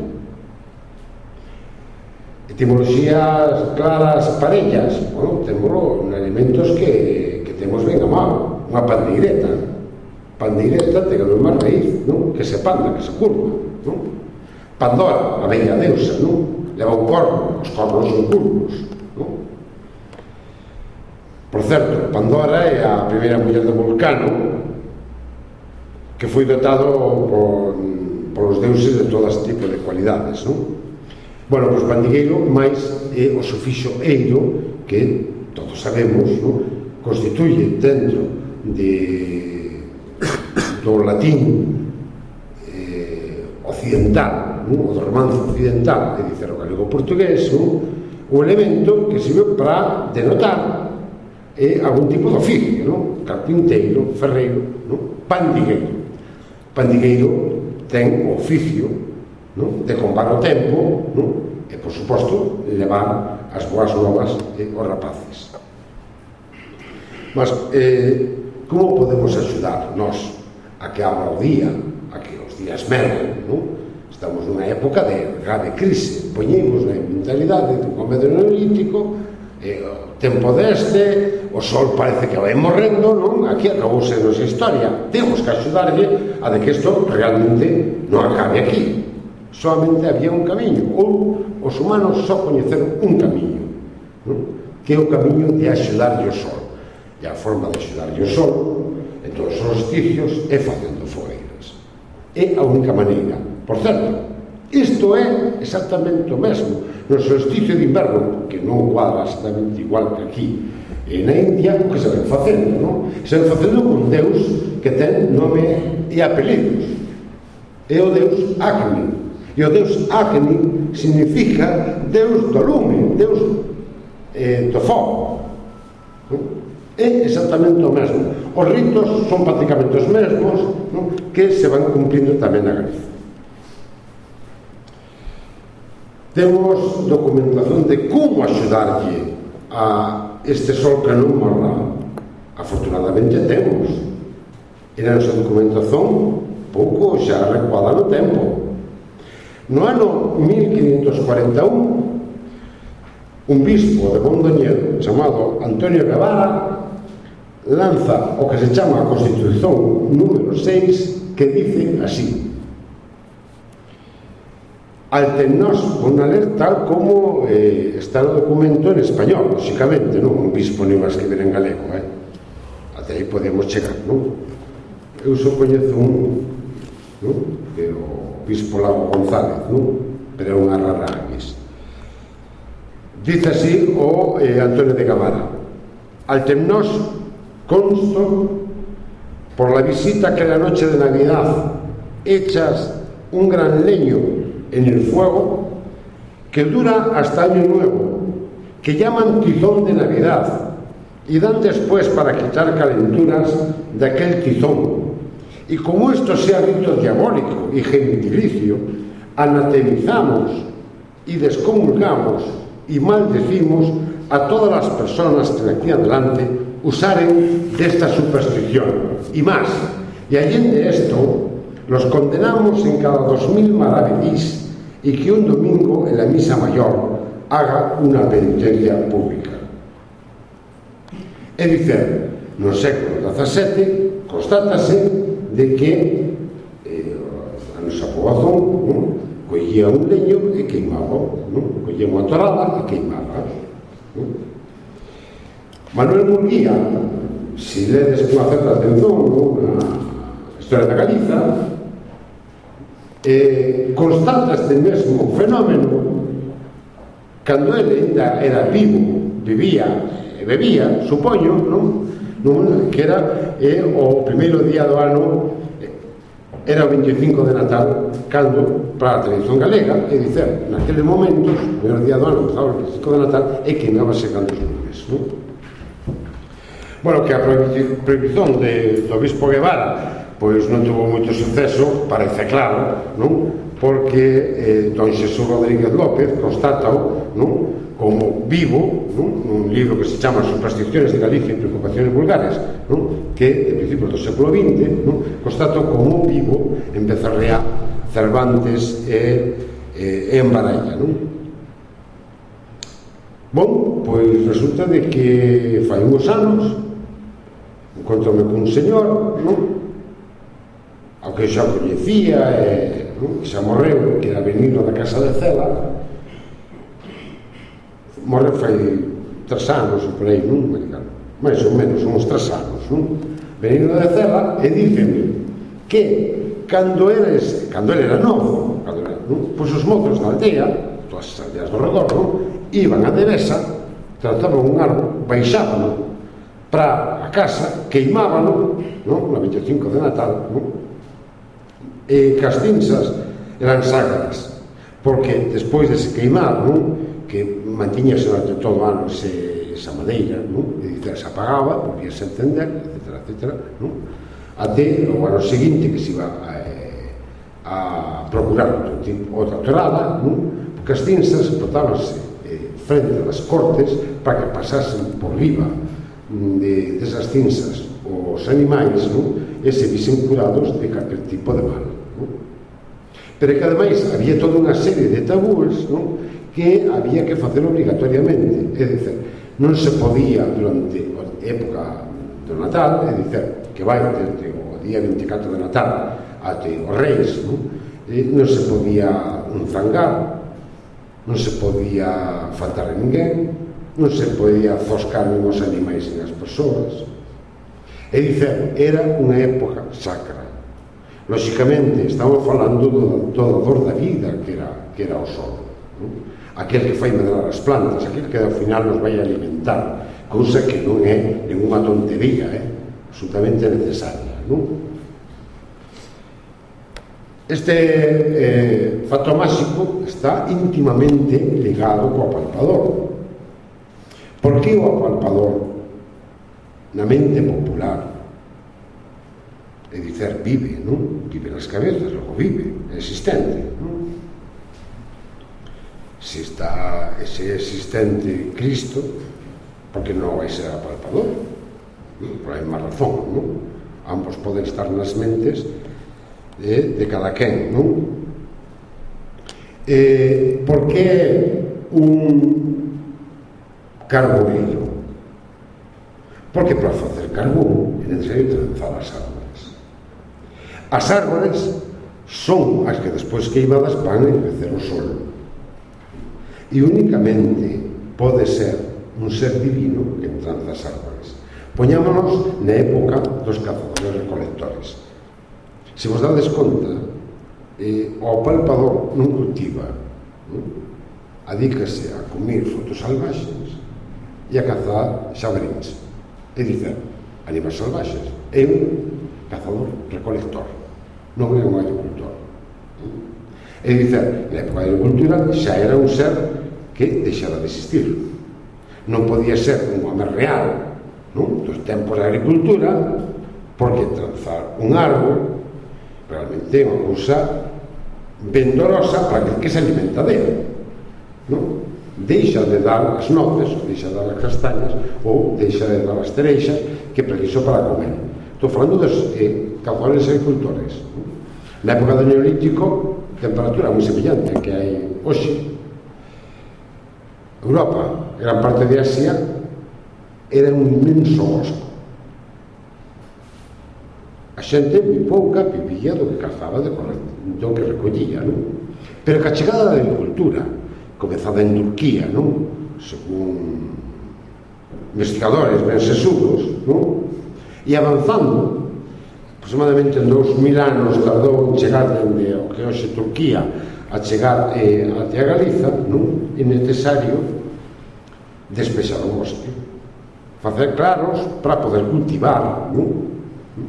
Etimologías claras, parellas, bueno, temos elementos que, que temos ben a mano. Unha pandeireta. Pandeireta ten a mesma raíz, non? Que se panda, que se curva, non? Pandora, a bella deusa, non? Leva un corno, os cornos son curvos, non? Por certo, Pandora é a primeira muller de Vulcano que foi dotado por, por os deuses de todo este tipo de cualidades, non? Bueno, pois pandigueiro máis é o sufixo eiro, que todos sabemos, non? Constituye dentro de do latín eh, occidental, non? O do romance occidental, é dicer, o galego-portugués, non? O elemento que sirve para denotar eh, algún tipo de oficio, non? Carpinteiro, ferreiro, non? Pandigueiro. Pandigueiro ten o oficio, non? De combar o tempo, non? E, por suposto, levar as boas novas eh, aos rapaces. Mas, eh, como podemos axudar nós a que abra o día, a que os días merden, non? Estamos nunha época de grave crise, poñemos na mentalidade do comedo neolítico, eh, o tempo deste, o sol parece que vai morrendo, non? Aquí acabouse a nosa historia. Temos que axudarlle a de que isto realmente non acabe aquí. Solamente había un camiño, ou os humanos só coñeceron un camiño, non? Que é o camiño de axudarlle o sol. E a forma de axudarlle o sol en todos os solsticios é facendo fogueiras. É a única maneira. Por certo, isto é exactamente o mesmo no solsticio de inverno, que non cuadra exactamente igual que aquí e na India, o que se ven facendo, non? Se ven facendo con Deus que ten nome e apelidos. É o Deus Agni. E o Deus Agni significa Deus do lume, Deus eh, do fogo. É exactamente o mesmo. Os ritos son prácticamente os mesmos, non? Que se van cumplindo tamén na Galiza. Temos documentación de como axudarlle a este sol que non morra. Afortunadamente temos. E na nosa documentación pouco xa recuada no tempo. No ano mil quinhentos cuarenta e un, un bispo de Mondoñedo chamado Antonio Guevara lanza o que se chama a Constitución número seis, que dice así: Altennos pon a ler tal como eh, está no documento en español, lóxicamente, non? Un bispo non iba a escribir en galego, eh? Até aí podemos chegar, non? Eu só coñezo un, non? Que é o bispo Lago González, non? Pero é unha rara avis. Dice así o eh, Antonio de Guevara: Altennos consto por la visita que la noche de Navidad echas un gran leño en el fuego que dura hasta Año Nuevo, que llaman tizón de Navidad y dan después para quitar calenturas de aquel tizón. Y como esto sea rito diabólico y gentilicio, anatemizamos y descomulgamos y maldecimos a todas las personas que de aquí adelante usaren de esta superstición. Y más, y allende esto, los condenamos en cada dos mil maravedís y que un domingo en la misa mayor haga una penitencia pública. É dicir, no século dezasete constátase de que eh, nosa poboazón, non? Collía un leño e queimaba, non? Collía unha torrada e queimaba, non? Manuel Murguía, se ledes con unha certa atención, non? A historia da Galiza, eh, constata este mesmo fenómeno cando ele ainda era vivo, vivía e bebía, supoño, non? Non? Que era eh, o primeiro día do ano, era o veinticinco e cinco de Natal, cando, para a tradición galega, é dicer, naqueles momentos, o primeiro día do ano, estaba o veinticinco e cinco de Natal, e queimábase cantos lumes, non? Bueno, que a prohibición de, do bispo Guevara pois non tuvo moito suceso, parece claro, non? Porque eh, don Xesús Rodríguez López constatao, non? Como vivo, non? Nun libro que se chama Supersticiones de Galicia e Preocupaciones Vulgares, non? Que, de principios do século vinte, non? Constatao como vivo en Becerrea, Cervantes e, e, e en Baralla, non? Bon, pois resulta de que fai uns anos encontrome con un señor, non? Ao que xa coñecía e non? Que xa morreu, que era venido da casa de Cela. Morreu fai tres anos ou por aí, non? Mais ou menos, uns tres anos, non? Venido de Cela e dicen que cando eres, cando ele era novo, cando era, non? Pois os mozos da aldea, todas as aldeas do redor, non? Iban a Devesa, trataban un árbol, baixábano para a casa, queimábano, non? No veinticinco e cinco de Natal, non? E que as cinzas eran sagradas, porque despois de se queimar, non? Que mantiñase durante todo o ano ese, esa madeira, non? E dicer, se apagaba, volvíase a encender, etcétera, etcétera, non? Até o ano seguinte que se iba a, a procurar outro tipo, outra torrada, non? Porque as cinzas botábanse eh, frente das cortes para que pasasen por riba de, desas cinzas os animais, non? E se visen curados de calquer tipo de mal, non? Pero que ademais había toda unha serie de tabúes, non? Que había que facer obrigatoriamente, é dicir, non se podía durante a época do Natal, é dicir, que vai desde o día vinte e catro de Natal até os Reis, non? E non se podía zangar, non se podía faltar a ninguén, non se podía zoscar nin os animais nin as persoas. É dicir, era unha época sacra. Lóxicamente, estamos falando do dador da vida que era, que era o sol, non? Aquel que fai medrar as plantas, aquel que ao final nos vai alimentar, cousa que non é ninguna tontería, é absolutamente necesaria, non? Este eh, fato máxico está íntimamente ligado co apalpador. Por que o apalpador na mente popular, é dicer, vive, non? Vive nas cabezas, logo vive, é existente, non? Se está ese existente Cristo, porque non vai ser apalpador? Por hai má razón, non? Ambos poden estar nas mentes de, de cada quen, non? Eh, por que un carboneiro? Porque para facer carbón é necesario trenzar as árbores. As árbores son as que despois queimadas van a crecer o sol. E únicamente pode ser un ser divino que entranza as árbores. Poñámonos na época dos cazadores recolectores. Se vos dades conta, eh, o apalpador non cultiva, non? Adícase a comer frutos salvaxes e a cazar xabríns. É dicer, animais salvaxes. É un cazador recolector, non é un agricultor. É dicer, na época da agricultura xa era un ser que deixara de existir. Non podía ser un home real, non? Dos tempos da agricultura, porque tranzar un árbol realmente é unha cousa vendorosa para aquel que se alimenta dele, non? Deixa de dar as noces, ou deixa de dar as castañas, ou deixa de dar as cereixas que precisou para comer. Estou falando dos eh, cazadores e agricultores. Na época do Neolítico, temperatura moi semellante que hai hoxe. Europa, gran parte de Asia, era un inmenso bosco. A xente moi pouca vivía do que cazaba, do que recollía, non? Pero que a chegada da agricultura, comezada en Turquía, non? Según investigadores ben sesudos, non? E avanzando, aproximadamente en dous mil anos tardou en chegar dende o que hoxe Turquía a chegar eh, até a Galiza, non? É necesario despexar o bosque, facer claros para poder cultivar, non?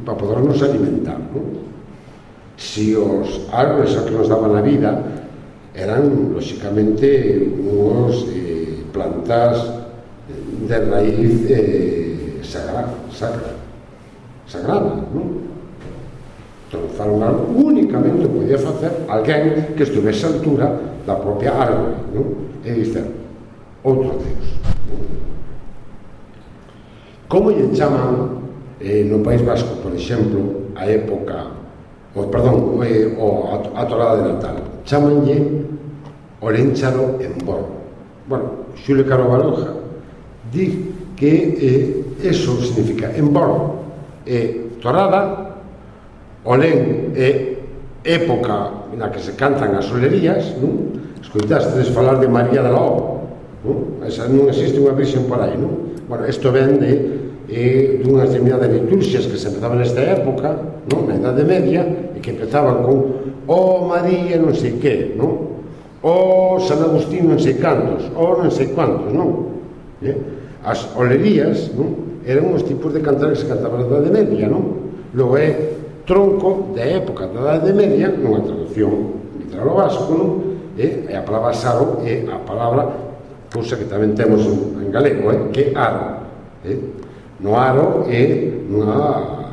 Para podernos alimentar, non? Si os árboles que nos daban a vida eran, lóxicamente, unhos eh, plantas de raíz eh, sagrada, sagrada, sagrada, non? Trozaron algo únicamente podía facer alguén que estuvese a altura da propia árbore, non? É dicer, outro Deus, non? Como lle chaman eh, no País Vasco, por exemplo, a época o, perdón, eh, o, a, a torada de Natal, chamanlle Oréncharo en Bor. Bueno, Xulio Caro Baroja di que eh, eso significa en Bor eh, torada, Olén é época na que se cantan as solerías, non? Escoitastes falar de María de la O, non? Esa non existe unha virxen por aí, non? Bueno, isto ven de eh, dunhas determinadas liturxias que se empezaban nesta época, non? Na Idade Media, e que empezaban con o María non sei que, non? O San Agustín non sei cantos, o non sei cuantos, non? Eh? As olerías, non? Eran uns tipos de cantares que se cantaban na Idade Media, non? Logo é tronco da época da Idade Media, nunha traducción literal ao vasco, non? E a palabra saro é a palabra, cousa que tamén temos en, en galego, eh? Que é aro. Eh? No aro é nunha,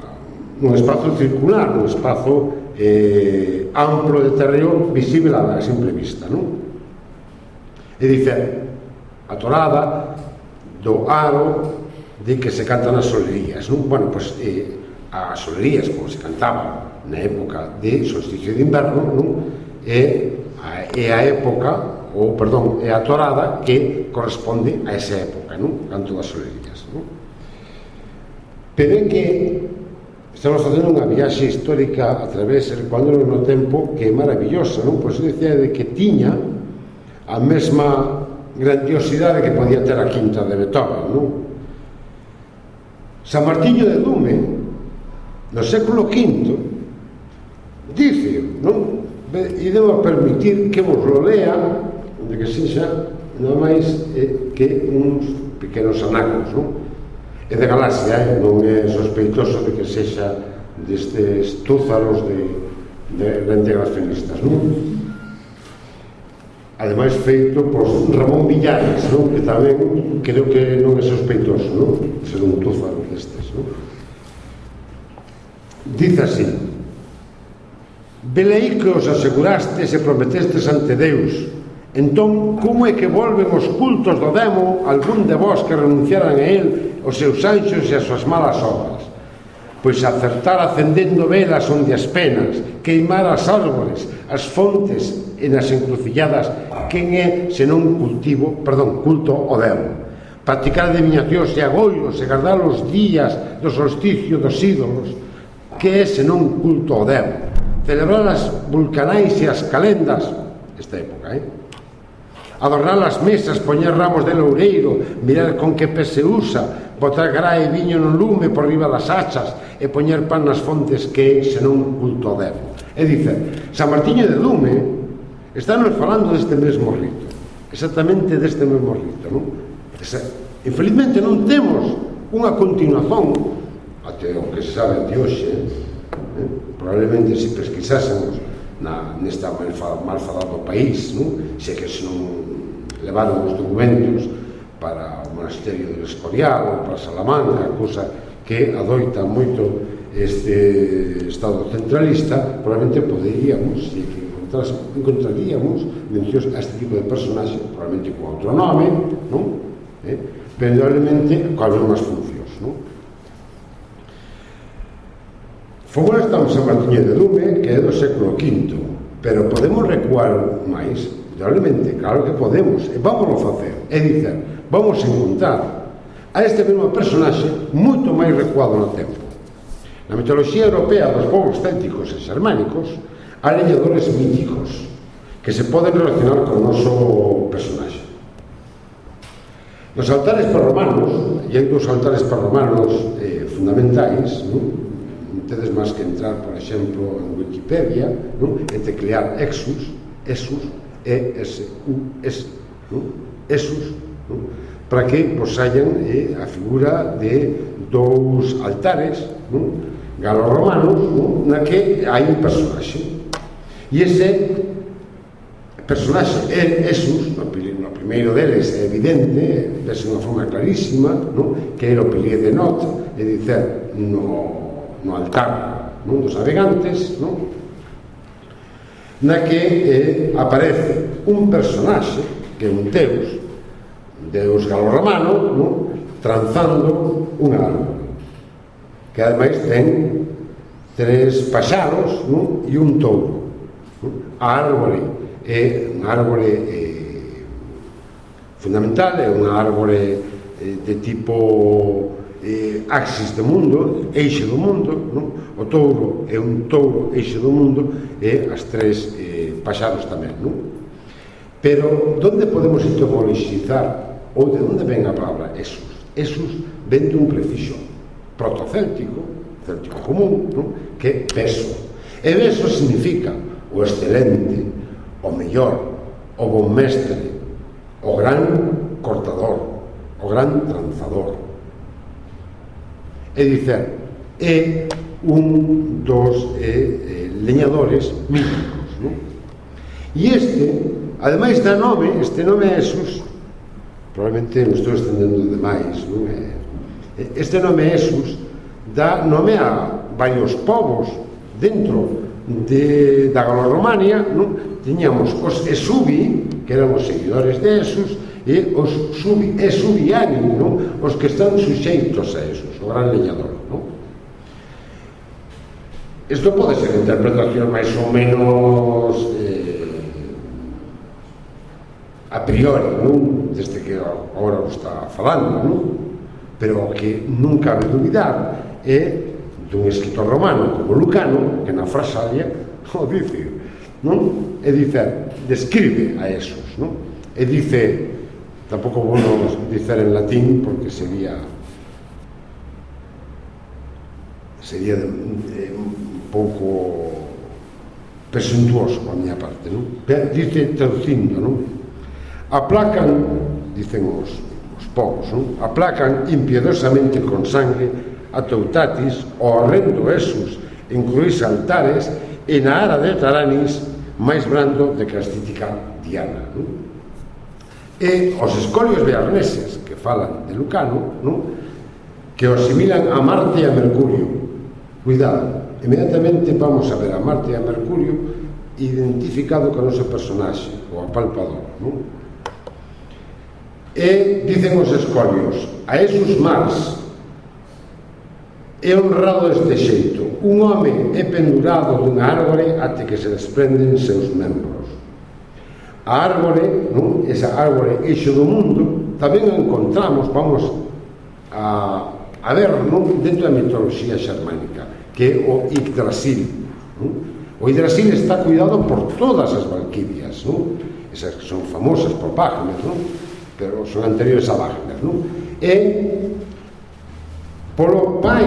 nun espazo circular, nun espazo eh, amplo de terreo visible a simple vista, non? E dice, a torada do aro de que se cantan as solerías, non? Bueno, pois eh, as solerías, como se cantaba na época de solsticio de inverno, non? É a, é a época, ou, perdón, é a torada que corresponde a esa época, non? Canto das solerías, non? Pero é que estamos facendo unha viaxe histórica a través del cuadro no tempo que é maravillosa, non? Pois eu dicía de que tiña a mesma grandiosidade que podía ter a quinta de Beethoven, non? San Martiño de Dume, no século quinto, dice, non? E debo permitir que vos lo lea, onde que sexa nada máis eh, que uns pequenos anacos, non? É de Galaxia, eh? Non é sospeitoso de que sexa destes túzaros de, de rentegracionistas, non? Ademais feito por Ramón Villares, non? Que tamén creo que non é sospeitoso, non? Ser un túzaro destes, non? Dice así: veleí que os asegurastes e prometestes ante Deus, entón como é que volven os cultos do demo algún de vós que renunciaran a él os seus anxos e as súas malas obras? Pois acertar acendendo velas onde as penas, queimar as árbores, as fontes e nas encrucilladas, quen é senón cultivo, perdón, culto ao demo? Practicar adivinacións e agoiros e guardar os días do solsticio dos ídolos, que é senón culto ao demo? Celebrar as vulcanais e as calendas, esta época, eh? Adornar as mesas, poñer ramos de loureiro, mirar con que pé se usa, botar gra e viño no lume por riba das hachas e poñer pan nas fontes, que é senón culto ao demo. É dicer, San Martiño de Dume está nos falando deste mesmo rito, exactamente deste mesmo rito, non? Infelizmente non temos unha continuación até o que se sabe de hoxe, eh? Probablemente se pesquisásemos na, nesta malfadado país, non? Se que se non levaron os documentos para o monasterio del Escorial ou para Salamanca, cousa que adoita moito este estado centralista, probablemente poderíamos, se que encontraríamos mencións a este tipo de personaxe, probablemente con outro nome, non? Eh? Pero probablemente con as mesmas funcións, non? Fomos estamos a Martiño de Dume, que é do século quinto, pero podemos recuar máis? Probablemente, claro que podemos, e vámonos facer, é dicer, vamos encontrar a este mesmo personaxe moito máis recuado no tempo. Na mitoloxía europea dos povos célticos e xermánicos hai leñadores míticos que se poden relacionar con o noso personaxe. Nos altares prerromanos, e hai dos altares prerromanos eh, fundamentais, non? Non tedes máis que entrar, por exemplo, en Wikipedia, non? E teclear Exus, Exus, E S U S, non? Exus, non? Para que vos saian eh, a figura de dous altares, non? Galo-romanos, non? Na que hai un personaxe. E ese personaxe é Exus, no primeiro deles é evidente, vese unha forma clarísima, non? Que era o pilier de Not, é dicer, no, no altar, non? Dos navegantes, non? Na que eh, aparece un personaxe que é un deus, un deus galo-romano, non? Tranzando unha árbore, que ademais ten tres paxaros, non? E un touro, non? A árbore é unha árbore eh, fundamental, é unha árbore eh, de tipo eh, axis do mundo, eixe do mundo, non? O touro é un touro eixe do mundo e as tres eh, paxaros tamén, non? Pero onde podemos etimologizar ou de onde ven a palabra Exus? Exus ven dun prefixo protocéltico, céltico común, non? Que é peso, e peso significa o excelente, o mellor, o bon mestre, o gran cortador, o gran tranzador. É dicer, é un dos eh, eh, leñadores míticos, non? E este, ademais da nome, este nome Exus, probablemente non estou estendendo demais, non? Este nome Exus dá nome a varios povos dentro de, da Galo-Romania, non? Tiñamos os Esubi, que eran os seguidores de Exus, e os subi, Esubiani, non? Os que están suxeitos a Exus, o gran leñador, non? Isto pode ser interpretación máis ou menos eh, a priori, non? Desde que agora o está falando, non? Pero o que non cabe dubidar é dun escritor romano como Lucano, que na Frasalia o dice, non? E dice, describe a Exus, non? E dice, tampouco vou dicer en latín porque sería sería de, de, un pouco presuntuoso a miña parte, non? Pero dice traducindo, non? Aplacan, dicen os, os povos, non? Aplacan impiedosamente con sangue a Teutatis o horrendo Exus en cruís altares e na ara de Taranis máis brando de que a estítica Diana, non? E os escolios bearneses que falan de Lucano, non? Que o asimilan a Marte e a Mercurio. Cuidado, inmediatamente vamos a ver a Marte e a Mercurio identificado con o noso personaxe, o apalpador, non? E dicen os escolios, a Exus Mars é honrado deste xeito, un home é pendurado dunha árbore até que se desprenden seus membros. A árbore, non? Esa árbore eixo do mundo tamén a encontramos, vamos a, a ver, non? Dentro da mitoloxía xermánica, que é o Yggdrasil, non? O Yggdrasil está cuidado por todas as valquirias, non? Esas que son famosas por Wagner, non? Pero son anteriores a Wagner, non? E polo pai,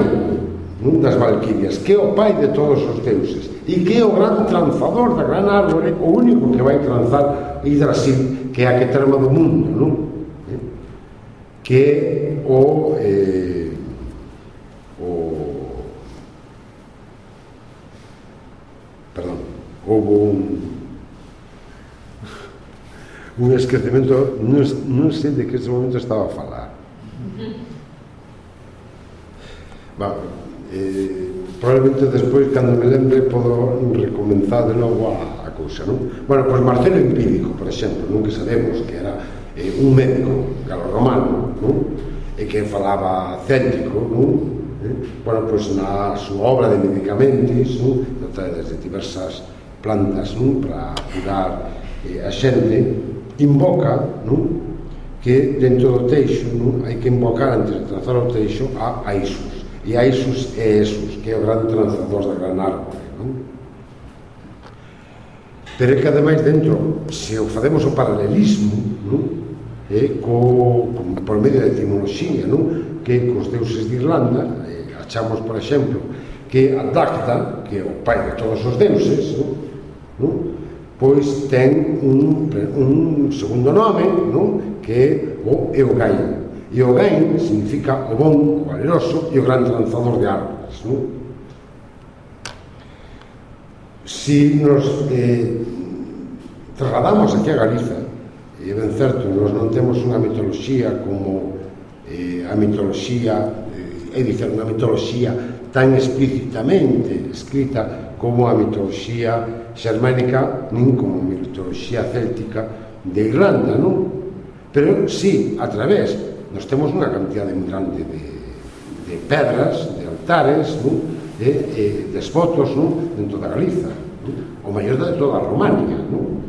non? Das valquirias, que é o pai de todos os deuses e que é o gran tranzador da gran árbore, o único que vai tranzar Yggdrasil, que é a que terma do mundo, non? Que é o eh, o perdón, houve un un esquecemento, non, non sei de que ese momento estaba a falar. Bueno, eh, probablemente despois, cando me lembre, podo recomenzar de novo a, a cousa, non? Bueno, pois Marcelo Empírico, por exemplo, non? Que sabemos que era eh, un médico galo-romano, non? E que falaba céltico, non? Eh? Bueno, pois na súa obra de medicamentos, non? Trata desde diversas plantas, non? Para curar eh, a xente, invoca, non? Que dentro do teixo, non? Hai que invocar antes de trazar o teixo a, a Exus. e a Isus e Esus, que é o gran tranzador da gran árbore, non? Pero é que ademais dentro, se o facemos o paralelismo, non? Eh, co, co, por medio da etimoloxía, non? Que cos deuses de Irlanda eh, achamos, por exemplo, que a Dacta, que é o pai de todos os deuses, non? Non? Pois ten un, un segundo nome, non? Que é o Eogain. E o Gain significa o bon, o valeroso e o gran tranzador de árbores, non? Si nos eh, trasladamos aquí a Galiza, e ben certo, nos non temos unha mitoloxía como eh, a mitoloxía, eh, é dicir, unha mitoloxía tan explícitamente escrita como a mitoloxía xermánica, nin como a mitoloxía céltica de Irlanda, non? Pero sí, a través nos temos unha cantidade moi grande de, de pedras, de altares, non? De, de desvotos, non? Dentro da Galiza, non? O maior de toda a Románica, non?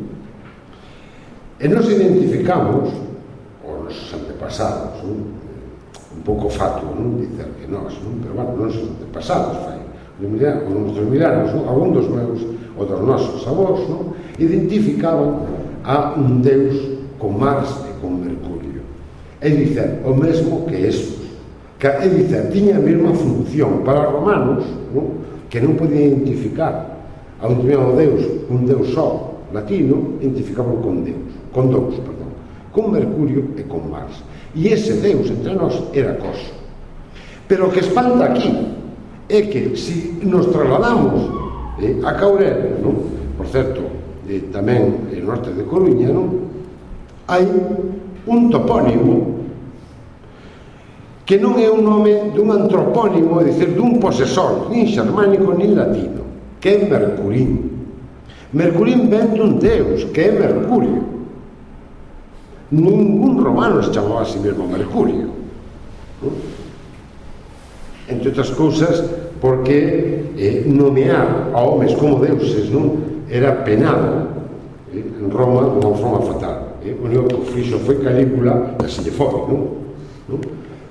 E nos identificamos os nosos antepasados, non? Un pouco fatuo, non? Dicer que nós, non? Pero, bueno, non son antepasados, fai os nosos milanos, non? Alguns dos meus ou dos nosos avós, non? Identificaban a un deus con Mars e con Mercurio. É dicer, o mesmo que Esus, que é dicer, tiña a mesma función para os romanos, non? Que non podían identificar a un determinado deus, un deus só latino, identificaban con deus, con dous, perdón, con Mercurio e con Mars. E ese deus entre nós era Coso. Pero o que espanta aquí é que se nos trasladamos eh, a Caurel, non? Por certo, eh, tamén no norte de Coruña, non? Hai un topónimo que non é un nome dun antropónimo, é dicir, dun posesor, nin xermánico, nin latino, que é Mercurín. Mercurín ven dun deus, que é Mercurio. Ningún romano se chamaba a si mesmo Mercurio, non? Entre outras cousas, porque eh, nomear a homes como deuses, non? Era penado eh, en Roma de unha forma fatal. O único que fixo foi Calígula e se lle foi, non? non?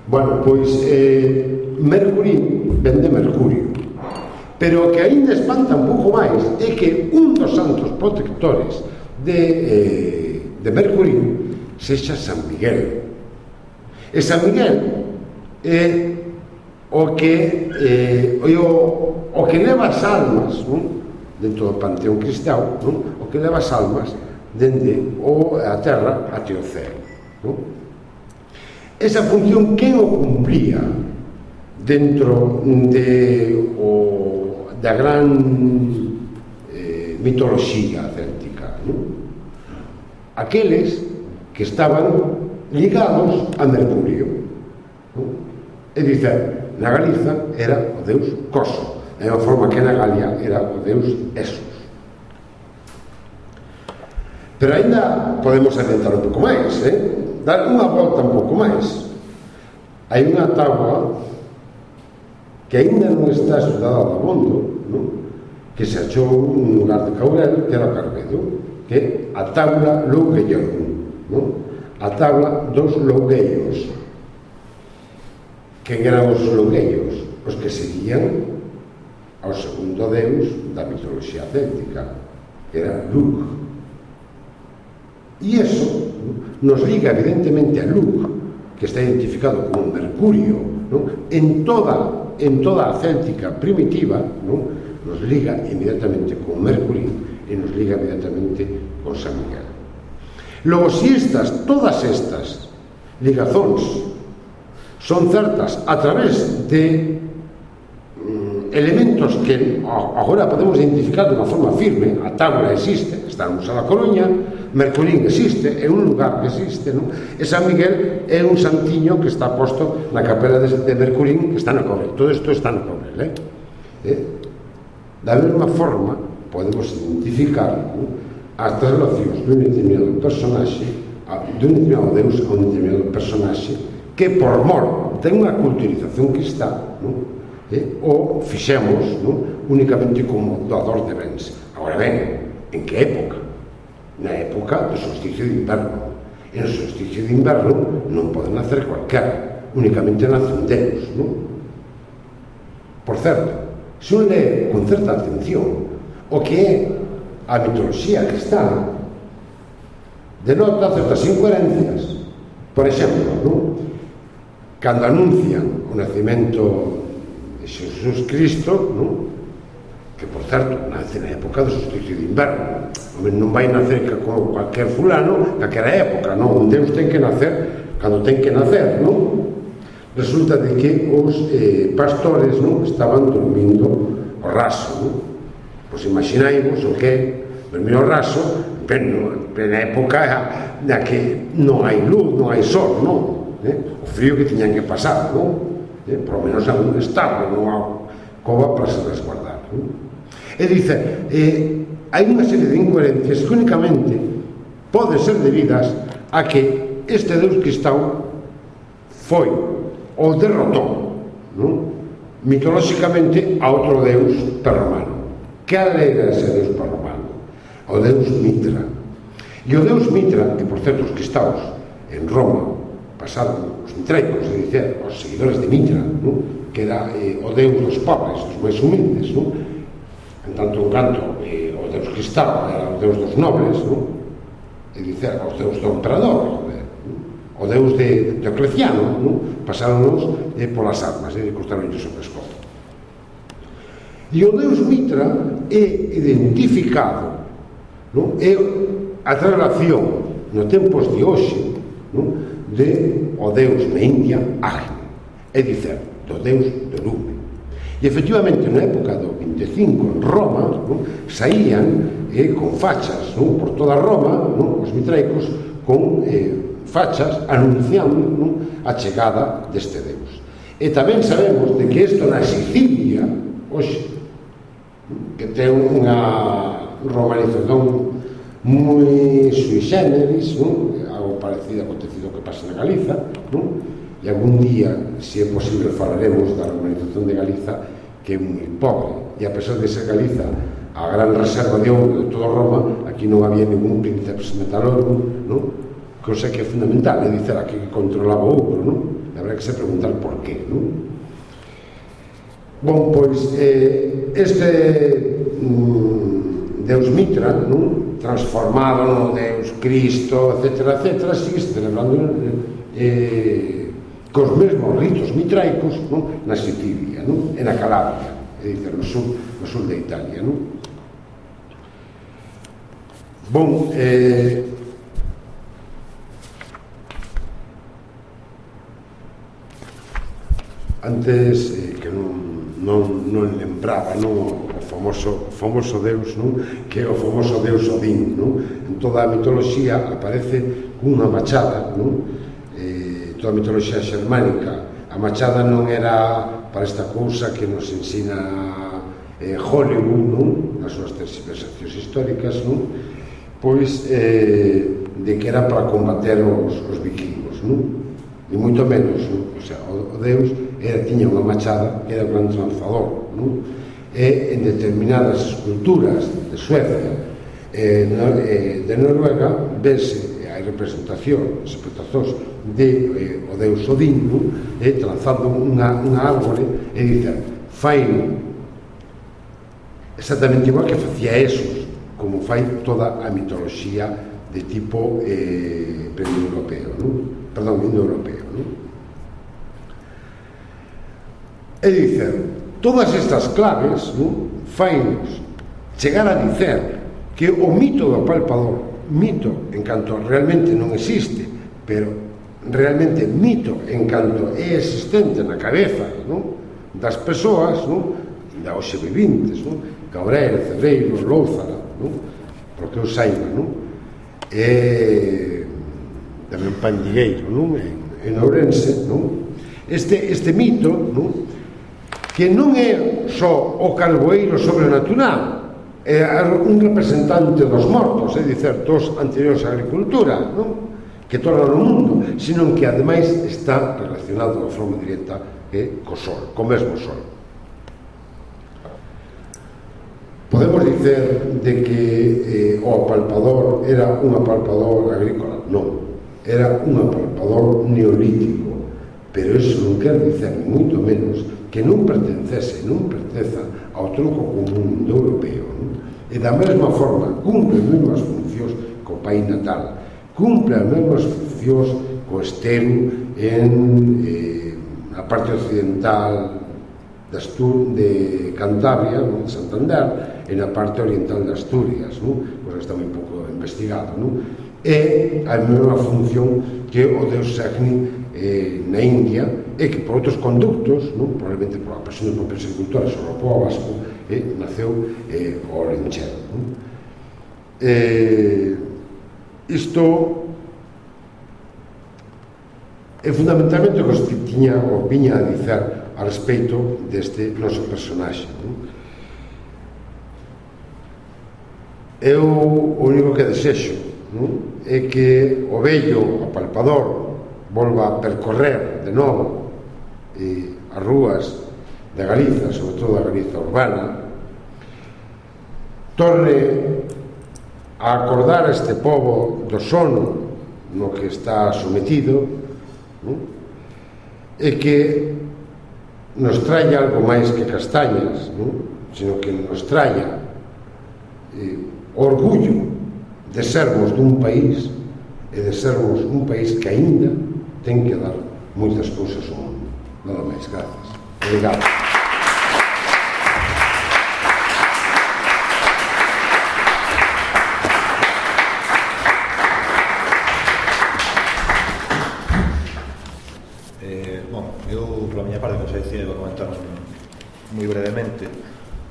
Bueno, pois eh, Mercurín ven de Mercurio, pero o que aínda espanta un pouco máis é que un dos santos protectores de, eh, de Mercurín sexa San Miguel. E San Miguel é o que eh, o, o que leva as almas, non? Dentro do panteón cristão, non? O que leva as almas dende o, a terra até o céu, non? Esa función quen o cumplía dentro de o, da gran eh, mitoloxía céltica, non? Aqueles que estaban ligados a Mercurio, non? É dicer, na Galiza era o deus Coso, e a forma que na Galia era o deus Esus. Pero ainda podemos adiantar un pouco máis, eh? Dar unha volta un pouco máis. Hai unha táboa que ainda non está estudada a abondo, non? Que se achou un lugar de Caurel, que era o Carbedo, que é a tabla Louguellón, non? A tabla dos lougueiros. Quen eran os lougueiros? Os que seguían ao segundo deus da mitoloxía céltica, que era Lug. E iso nos liga evidentemente a Lug, que está identificado como Mercurio, non? En toda, en toda a céltica primitiva, non? Nos liga inmediatamente con Mercurín e nos liga inmediatamente con San Miguel. Logo, se estas, todas estas ligazóns son certas a través de mm, elementos que agora podemos identificar de unha forma firme, a tábula existe, estamos a La Coruña, Mercurín existe, é un lugar que existe, non? E San Miguel é un santiño que está posto na capela de, de Mercurín, que está na Cobrel. Todo isto está na Cobrel, eh? eh? Da mesma forma, podemos identificar, non? As traslacións dun determinado personaxe, dun determinado deus a un determinado personaxe, que por mor ten unha culturización cristá, non? Eh? O fixemos, non? Únicamente como doador de bens. Agora ben, en que época? Na época do solsticio de inverno. E no solsticio de inverno non pode nacer cualquera, únicamente nace un deus, non? Por certo, se un lee con certa atención o que é a mitoloxía cristá, denota certas incoherencias. Por exemplo, non? Cando anuncian o nacimento de Xesús Cristo, non? Que, por certo, nace na época do solsticio de inverno. Non vai nacer como cualquier fulano naquela época, non? Deus ten que nacer cando ten que nacer, non? Resulta de que os eh, pastores, non? Estaban dormindo ao raso, non? Pois imaginai-vos o que dormir ao raso en plena época na que non hai luz, non hai sol, non? Eh? O frío que tiñan que pasar, non? Eh? Por lo menos a un establo, non a cova para se resguardar, non? E dice, eh, hai unha serie de incoherencias que únicamente poden ser debidas a que este Deus cristão foi ou derrotou, non? Mitolóxicamente a outro Deus perromano. Cal era ese Deus perromano? O Deus Mitra. E o Deus Mitra, que por certo os cristãos en Roma pasaron os mitraicos, é dicir, os seguidores de Mitra, non? Que era eh, o Deus dos pobres, dos máis humildes, non? En tanto en canto eh, o Deus cristão era o Deus dos nobles, non? É dicir, o Deus do emperador, o Deus de Diocleciano, non? Pasáronos eh, polas armas, e eh, costaronlles o pescozo. E o Deus Mitra é identificado, non? É a traslación no tempos de hoxe, non? De o Deus na India, Agni, é dicir, do Deus do lume. E efectivamente na época do vinte e cinco en Roma, non? Saían eh, con fachas, non? Por toda Roma, non? Os mitraicos con eh, fachas anunciando, non? A chegada deste Deus. E tamén sabemos de que isto na Sicilia hoxe, que ten unha romanización moi sui generis, non? Algo parecido acontecido que pasa na Galiza, non? E algún día, se é posible, falaremos da romanización de Galiza, que é moi pobre, e a pesar de ser Galiza a gran reserva de ouro de toda Roma, aquí non había ningún príncipe metalólogo, non? Cosa que é fundamental, é dicer, aquí que controlaba o ouro, non? Habrá que se preguntar por qué, non? Bon, pois, eh, este mm, Deus Mitra, non? Transformado no Deus Cristo, etcétera, etcétera, sigue celebrando eh, cos mesmos ritos mitraicos, non? Na Sicilia, non? E na Calabria, é dicir, no sur, no sur de Italia, non? Bon, eh, antes eh, que non, non, non lembraba, non, o famoso, o famoso Deus, non? Que é o famoso Deus Odín, non? En toda a mitoloxía aparece unha machada, non? Eh, toda a mitoloxía xermánica, a machada non era para esta cousa que nos ensina eh, Hollywood, non? Nas súas tergiversacións históricas, non? Pois eh, de que era para combater os, os vikingos, non? Ni moito menos, non? O sea, o, o Deus era, tiña unha machada que era un gran lanzador, non? E en determinadas esculturas de Suecia e eh, de Noruega vese a representación, as representacións de eh, o Deus Odín, non? E lanzando unha, unha árbore e dicer, fai exactamente igual que facía esos, como fai toda a mitoloxía de tipo eh, pre-europeo, non? Perdón, indo-europeo, non? É dicer, todas estas claves, non? Fainos chegar a dicer que o mito do apalpador, mito en canto realmente non existe, pero realmente mito en canto é existente na cabeza, non? Das persoas, non? Da hoxe vivintes, non? Cabrera, Cebreiro, Lóuzara, non? Porque eu saiba, non? E tamén Pandigueiro, non? En, en Ourense, non? Este, este mito, non? Que non é só o calvoeiro sobrenatural, é un representante dos mortos, é dicer, dos anteriores á agricultura, non? Que tornan o mundo, sino que ademais está relacionado de forma directa eh, co sol, co mesmo sol. Podemos dicer de que eh, o apalpador era un apalpador agrícola? Non, era un apalpador neolítico, pero iso non quer dicer, moito menos, que non pertencese, non perteza ao tronco común do europeo, non? E da mesma forma cumple as mesmas funcións co país natal, cumple as mesmas funcións co estero en eh, a parte occidental de, Astur, de Cantabria, non? De Santander, e na parte oriental de Asturias, non? Pois está moi pouco investigado, non? E a mesma función que o deus Agni eh, na India, e que por outros conductos, non? Probablemente por a presión dos propios agricultores sobre o povo vasco, eh, naceu eh, o Orenchero, non? Eh, isto é fundamentalmente o que se tiña ou viña a dicer a respeito deste noso personaxe, non? Eu o único que desexo, non? É que o vello apalpador volva a percorrer de novo eh, as rúas de Galiza, sobre todo a Galiza urbana, torne a acordar este pobo do sono no que está sometido, non? E que nos traia algo máis que castañas, non? Sino que nos traia eh, orgullo de sermos dun país e de sermos un país que aínda ten que dar moitas cousas ao mundo. Nada máis, gracias. Obrigado. Eh, bom, eu, pola miña parte, como xa dicía, vou comentar moi brevemente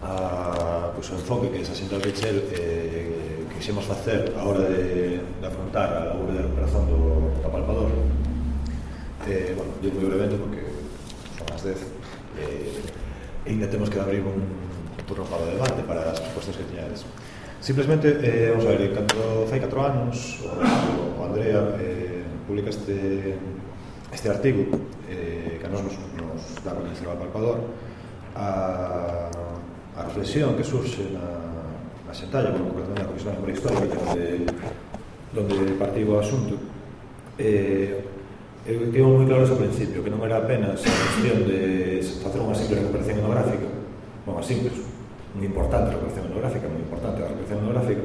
a, pues, o enfoque que esa Central Pichel eh, quixemos facer a hora de, de afrontar a labor de recuperación do, do apalpador. Eh, bueno, digo moi brevemente porque son as dez eh, e ainda temos que abrir un turno para o debate para as propostas que tiñades. Simplemente, eh, vamos a ver, cando fai catro anos o, o Andrea eh, publica este este artigo eh, que a nos nos, nos dá a coñecer o apalpador, a a reflexión que surxe na, na Xentalla, bueno, concretamente na Comisión de Memoria Histórica, onde, donde partiu o asunto, eh, eu tenho moi claro ese principio, que non era apenas a cuestión de facer unha simple recuperación etnográfica, non a simples, unha importante recuperación etnográfica, moi importante a recuperación etnográfica,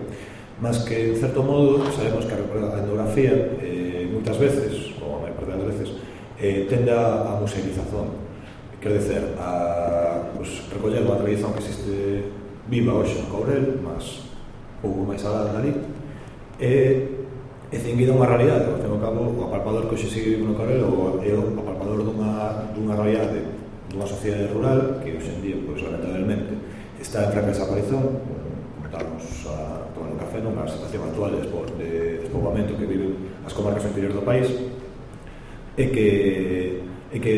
mas que, en certo modo, sabemos que a etnografía, eh, moitas veces, ou a maior parte das veces, eh, tende a, a musealización. Quero dizer, a pues, recoller unha tradición que existe viva hoxe no Courel, mas pouco máis alá dali, e, e cinguida unha realidade. Ao fin e ao cabo, o apalpador que hoxe sigue vivo no Courel é o apalpador dunha, dunha realidade, dunha sociedade rural que hoxe en día, pues, lamentablemente, está en franca desaparición. Comentamos a tomar un café nunha situación actual de despoboamento que viven as comarcas do interior do país, e que, e que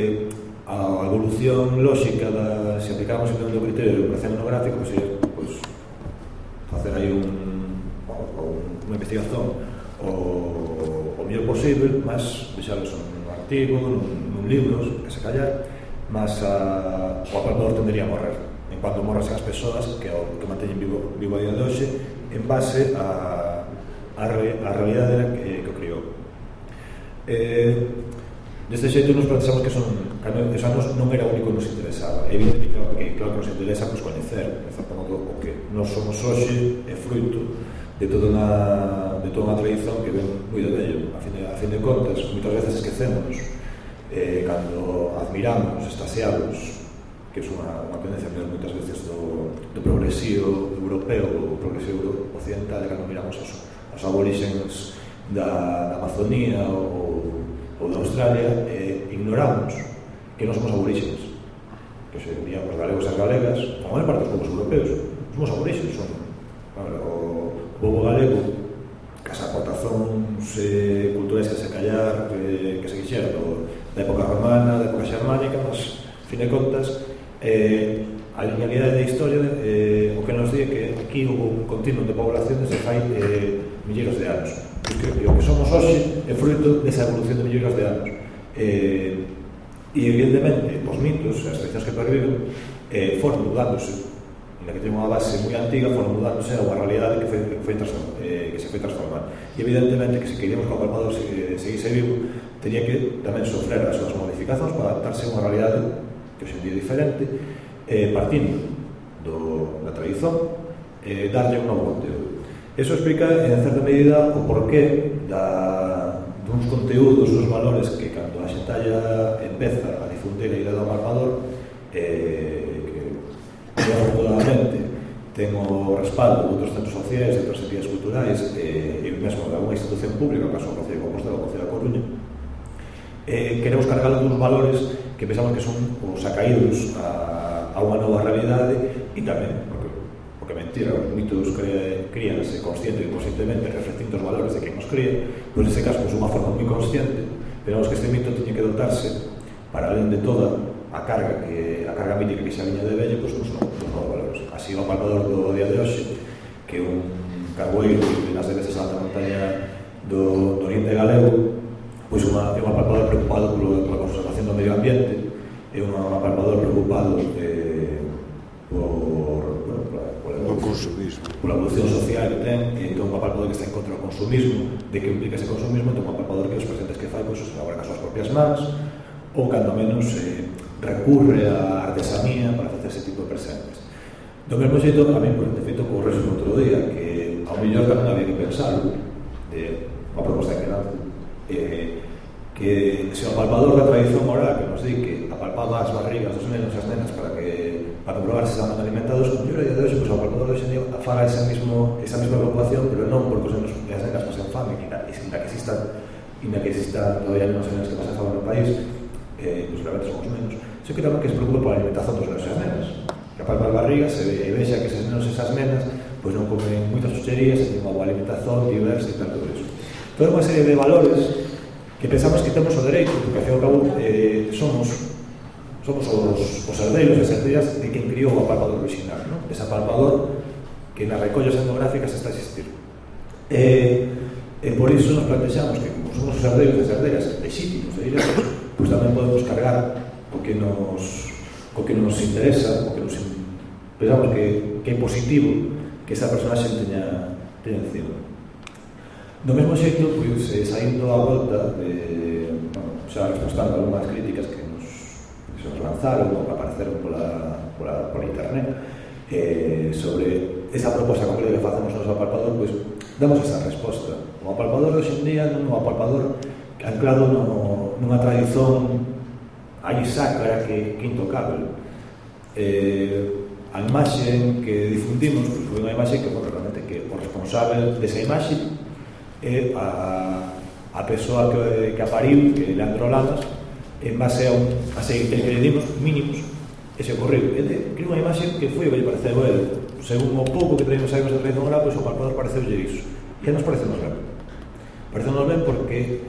a evolución lóxica da, se aplicamos simplemente o criterio de recuperación etnográfica, pois é pues, facer aí un, unha investigación o, o mellor posible, mas deixarlos nun artigo, nun, nun libros, que se callar, mas a, o apalpador tendería a morrer en cuanto morrasen as persoas que, o, que manteñen vivo, vivo a día de hoxe en base a, a, re, a realidade que, que o criou. Eh, Deste xeito nos pensamos que son que eso nos non era o único que nos interesaba. É evidente que claro, que, claro que nos interesa pues, coñecer, de certo modo, o que nós somos hoxe é fruto de toda unha, de toda unha tradición que ven moi de vello. A fin de, a fin de contas, moitas veces esquecémonos eh, cando admiramos, estasiados, que é unha, unha tendencia que moitas veces do, do progresío europeo, do progresío occidental, cando miramos os, os aborixens da, da Amazonía ou ou da Australia, eh, ignoramos que non somos aborixenes, que se dirían os galegos e as galegas, a maior parte dos povos europeos somos aborixenes, son bueno, o povo galego, que as aportacións eh, culturais que se callar, que, que se quixera da época romana, da época xermánica, mas, fin de contas, eh, a linealidade da historia eh, o que nos di que aquí houve un continuo de población desde fai eh, milleiros de anos. Que o que somos hoxe é fruto desa evolución de milleiros de anos. Eh, e, evidentemente, os mitos, as tradicións que perviven, eh, foron mudándose. En la que ten unha base moi antiga, foron mudándose a unha realidade que, foi, que, foi eh, que se foi transformando. E, evidentemente, que se queríamos que o apalpador se, seguise vivo, tenía que tamén sofrer as súas modificacións para adaptarse a unha realidade que hoxe en día é diferente, eh, partindo do, da tradición, eh, darlle un novo conteúdo. Eso explica, en certa medida, o porqué da, duns conteúdos, dos valores que cando a xentalla empeza a difundir a idea do apalpador, eh, que afortunadamente ten o respaldo de outros centros sociais, de outras entidades culturais e, e mesmo de alguna institución pública, o caso do Concello de Compostela, o Concello da Coruña, eh, queremos cargar uns valores que pensamos que son os acaídos a, a unha nova realidade e tamén, porque, porque mentira, os mitos críanse consciente e inconscientemente reflectindo os valores de quen nos cría, pois nese caso, pois, unha forma moi consciente, pensamos que este mito teña que dotarse, para além de toda a carga que a carga mítica que xa viña de vello, pois, pois, os novos valores. Así, o apalpador do día de hoxe, que un carboeiro que nas veces a alta montaña do, do Oriente Galego, pois unha, é un apalpador preocupado polo, pola conservación do medio ambiente, é un apalpador preocupado eh, por, bueno, pola, pola, consumismo, pola evolución social que ten, e entón un apalpador que está en contra do consumismo, de que implica ese consumismo, entón un apalpador que os presentes que fai, pois, agora as súas propias mans, ou cando menos eh, recurre á artesanía para facer ese tipo de presentes. Do mesmo xeito, a mí, por de feito, co resumo outro día, que ao mellor tamén había que pensarlo, de unha proposta que lanzo, eh, que se o apalpador da tradición oral que nos di que apalpaba as barrigas dos nenos e as nenas para que para comprobar se estaban alimentados, con yo a día de hoxe, pues, o apalpador de hoxe en día faga esa, mismo, esa misma preocupación, pero non porque os nenos e as nenas pasen fame, que inda que existan inda que existan todavía nenos e nenas que pasan fame no país, eh, pues realmente somos menos, sino que tamén que se preocupe pola alimentación dos nenos e as nenas, que apalpa as barrigas e vexa que esos nenos e esas nenas pois non comen moitas chucherías e teñen unha boa alimentación diversa e tal, todo iso. Toda unha serie de valores que pensamos que temos o dereito, porque ao fin e ao cabo eh, somos somos os, os herdeiros e as herdeiras de quen criou o apalpador original, ¿no? Ese apalpador que nas recollas etnográficas está a existir. E, e por iso nos plantexamos que, como somos os herdeiros e as herdeiras legítimos de directos, pois tamén podemos cargar o que nos, o que nos interesa, o que nos pensamos que, que é positivo que esa personaxe teña, teña encima. Do mesmo xeito, pois, eh, saindo a volta de, bueno, xa respostando algunhas críticas que nos, que se nos lanzaron ou que apareceron pola, pola, pola internet eh, sobre esa proposta concreta que facemos nos apalpador, pois damos esa resposta. O apalpador de hoxe en día non é un apalpador anclado no, nunha tradición aí sacra que, que intocable. Eh, a imaxe que difundimos, pois, foi unha imaxe que, bueno, realmente que o responsable desa imaxe é a, a persoa que, que apariu, que é Leandro Lamas, en base a un a seguinte que le dimos mínimos, ese ocorreu. Ele criou unha imaxe que foi o que lle pareceu a ele. Según o pouco que traímos aí de tradición oral, pois o apalpador pareceulle iso. E nos parecemos ben. Parecemos ben porque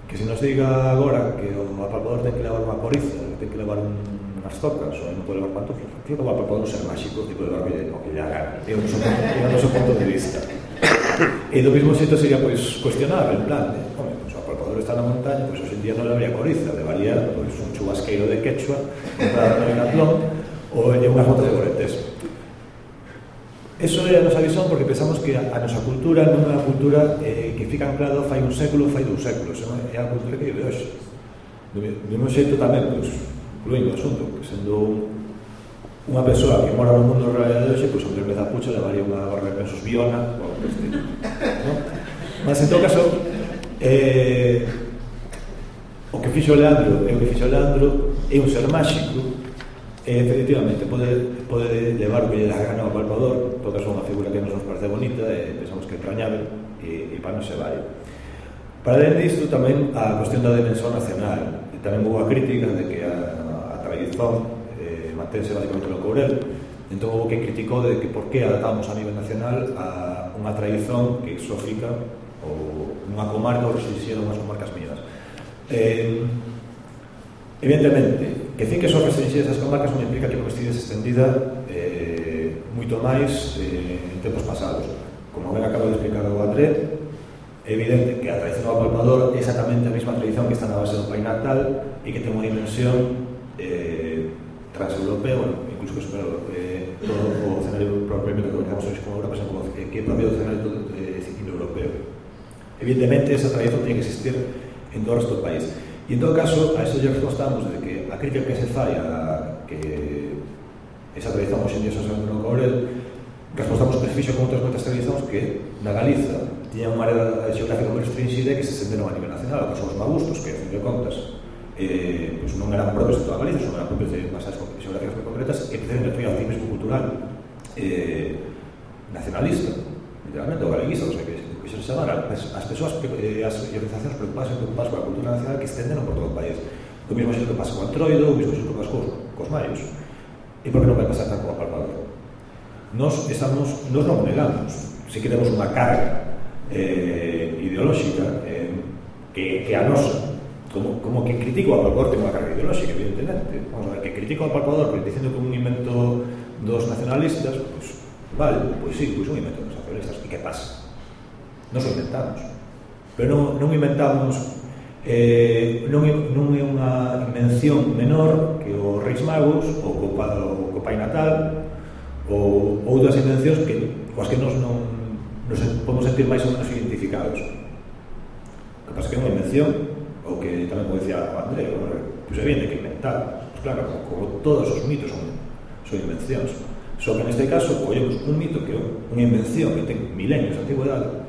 que se nos diga agora que o apalpador ten que levar unha coriza, ten que levar un, unhas tocas, ou non pode levar pantuflas, creo que o apalpador non ser máxico, tipo de levar o que lle haga. É o noso punto de vista. E do mesmo xeito sería, pois, cuestionable, en plan de, home, pois, o apalpador está na montaña, pois, hoxe en día non levaría coriza, levaría, pois, un chubasqueiro de quechua, comprado no Decathlon, ou unhas botas de coretes. Eso é a nosa visón porque pensamos que a, a nosa cultura non é unha cultura eh, que fica anclado fai un século, fai dous séculos, non é a cultura que vive hoxe. Do mesmo xeito tamén, pois, incluindo o asunto, que sendo un unha persoa que mora no mundo rural de hoxe, pois, onde empeza a pucha, levaría unha gorra de pensos biona ou algo deste, ¿no? Mas, en todo caso, eh, o que fixo Leandro é o que fixo Leandro é un ser máxico e, efectivamente, pode, pode levar o que lle dá gana ao apalpador. En todo caso, unha figura que nos parece bonita e pensamos que é entrañable e, e para non se vai. Para além disto, tamén a cuestión da dimensión nacional. E tamén houve a crítica de que a, a tradición mantense basicamente no Courel. Entón houve que criticou de que por que adaptamos a nivel nacional a unha tradición que exófica ou unha comarca ou residenciada unhas comarcas mías. Eh, evidentemente, que fin que só residenciada esas comarcas non implica que non estivese extendida eh, moito máis eh, en tempos pasados. Como ben acabo de explicar o André, é evidente que a tradición do apalpador é exactamente a mesma tradición que está na base do Pai Natal e que ten unha dimensión eh, transeuropeo, bueno, incluso que supera eh, todo o escenario propiamente que conocemos hoxe como Europa, como que, que é propio do escenario todo, eh, europeo. Evidentemente, esa tradición tiene que existir en todo o resto do país. E, en todo caso, a eso lle respostamos de que a crítica que se fai a que esa tradición hoxe en día xa se abandonou co Ourel, respostamos prefixo con outras moitas tradicións que na Galiza tiñan unha área xeográfica moi restringida que se estenderon a nivel nacional, que son os magustos, que, a fin de contas, eh, pues non eran propios de toda Galiza, son eran propios de unas áreas xeográficas moi concretas, e precisamente foi o activismo cultural eh, nacionalista, literalmente, o galeguista, o sea, que, que se chamara, as, as persoas, eh, as organizacións preocupadas e preocupadas pola cultura nacional que estenderon por todo o país. O mesmo xeito que pasa co Antroido, o mesmo xeito que pasa cos, cos maios. E por que non vai pasar tan como a Palpador? Nos estamos, nos non negamos, se queremos unha carga eh, ideolóxica eh, que, que a nosa, como, como que critico a Palpador ten unha carga ideolóxica, evidentemente. Vamos a ver, que critico a Palpador dicindo que un invento dos nacionalistas, pois, pues, vale, pois sí, pois un invento dos nacionalistas. E que pasa? Nos o inventamos. Pero non, non inventamos... Eh, non, é, non é unha invención menor que os Reis Magos ou co, o, o Pai Natal ou outras invencións que, coas que nos non nos podemos sentir máis ou menos identificados. O que pasa que é unha invención, ou que tamén, como decía o André, pois é bien de que inventar, pois claro, como, como todos os mitos son, son invencións, só que neste caso collemos un mito que é unha invención que ten milenios de antigüedade,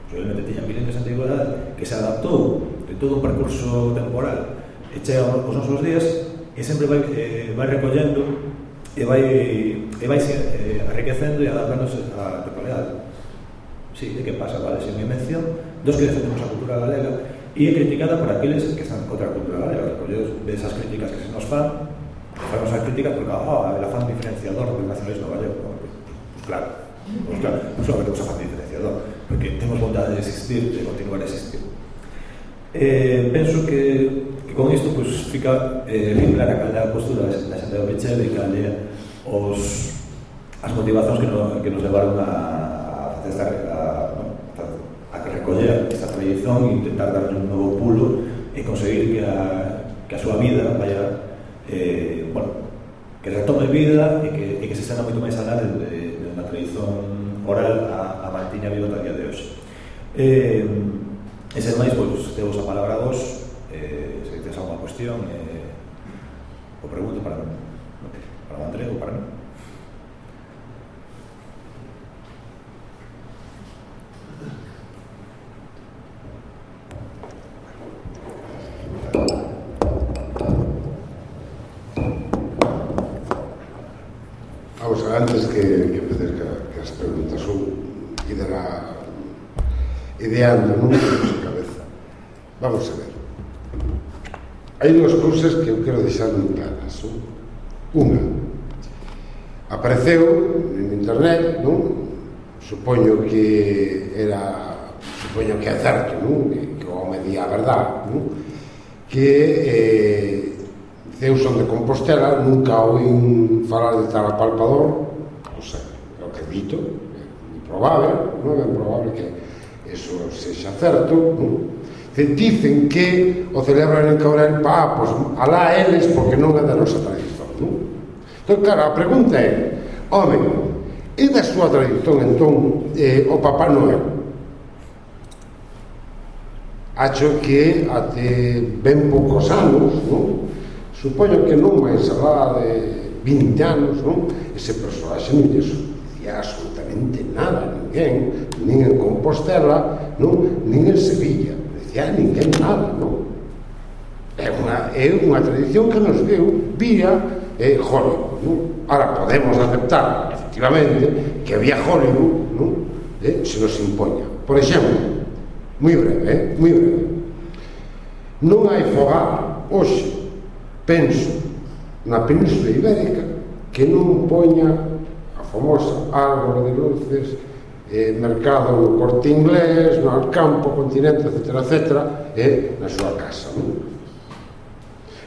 posiblemente teña milenios de antigüedade, que se adaptou de todo un percurso temporal e chega aos nosos días e sempre vai, eh, vai recollendo e vai, e vai se, eh, enriquecendo e adaptándose á temporalidade. Sí, de que pasa, vale, se unha invención dos que defendemos a cultura galega e é criticada por aqueles que están contra a cultura galega. Recollemos de esas críticas que se nos fan, facemos as críticas porque, ah, el afán diferenciador del nacionalismo gallego. Pues, pues claro, pues claro, non só que temos afán diferenciador, porque temos vontade de existir, de continuar a existir. Eh, penso que, que con isto pues, fica eh, bien clara cal é a postura da Santiago Pichel e cal é os, as motivacións que, no, que nos levaron a, a, a, a, a recoller esta tradición e intentar darle un novo pulo e conseguir que a, que a súa vida vaya, eh, bueno, que retome vida e que, e que se estenda moito máis alá de, de, de unha tradición oral a, a mantiña viva a día de hoxe. Eh, E sen máis, pois, temos a palabra a vos, eh, se tens alguma cuestión, eh, o pregunto para, para o André ou para mí. Vamos, antes que, que empeces que, que as preguntas un irá ideando, non? Vamos a ver. Hai dúas cousas que eu quero deixar moi claras. Unha, apareceu en internet, non? Supoño que era, supoño que é certo, non? Que o home di a verdade, non? Que eh, Zeus son de Compostela, nunca oín falar de tal apalpador, o sea, eu acredito, é improbable, non é improbable que eso sexa certo, non? Dicen que o celebran en Caurel, pa, pois, alá eles, porque non é da nosa tradición, non? Entón, claro, a pregunta é, home, é da súa tradición, entón, eh, o Papá Noel? Acho que até ben poucos anos, non? Supoño que non máis alá de vinte anos, non? Ese personaxe non lle dicía absolutamente nada a ninguén, nin en Compostela, non? Nin en Sevilla. A ninguén nada, non? É unha, é unha tradición que nos deu vía eh, Hollywood, non? Ahora podemos aceptar, efectivamente, que vía Hollywood, non? Eh, se nos impoña. Por exemplo, moi breve, eh? moi breve. Non hai fogar hoxe, penso, na Península Ibérica que non poña a famosa árbore de luces, Eh, mercado no Corte Inglés, no Alcampo, Continente, etcétera, etcétera, e na súa casa, non?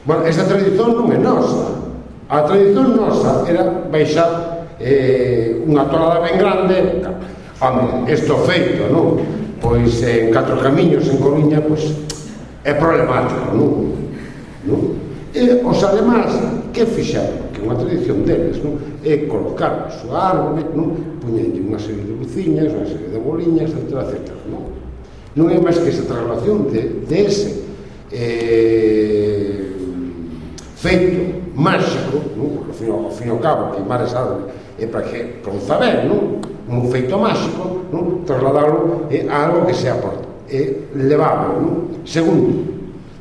Bueno, esa tradición non é nosa. A tradición nosa era baixar eh, unha tonada ben grande. Home, isto feito, non? Pois en Catro Camiños, en Coruña, pois é problemático, non? non? E os alemás, que fixeron? Que unha tradición deles, non? É colocar a súa árbore, non? Puñenlle unha serie de luciñas, unha serie de boliñas, etcétera, etcétera, non? Non é máis que esa traslación de, de ese eh, feito máxico, non? Porque ao fin, ao fin e ao cabo queimar esa árvore é para que produza ben, non? Un feito máxico, non? Trasladarlo é algo que sea por é levável, non? Segundo,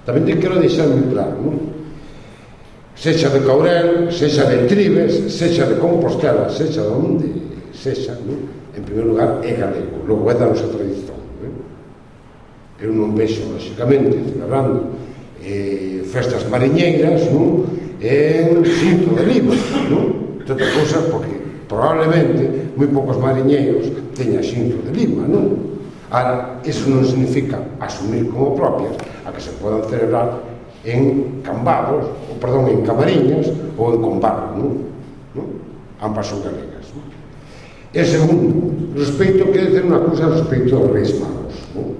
tamén te quero deixar moi claro, non? Sexa de Courel, sexa de Tribes, sexa de Compostela, sexa de onde sexa, non? En primeiro lugar é galego, logo é da nosa tradición, non? Eu non vexo, lógicamente, celebrando eh, festas mariñeiras, non? En cinto de Lima, non? Tanta cousa porque probablemente moi poucos mariñeiros teñan cinto de Lima, non? Ahora, iso non significa asumir como propias a que se podan celebrar en cambados, ou perdón, en camariñas ou en combados, non? non? Ambas son galegas, non? E segundo, respeito, quero dizer unha cousa respecto aos Reis Magos, non?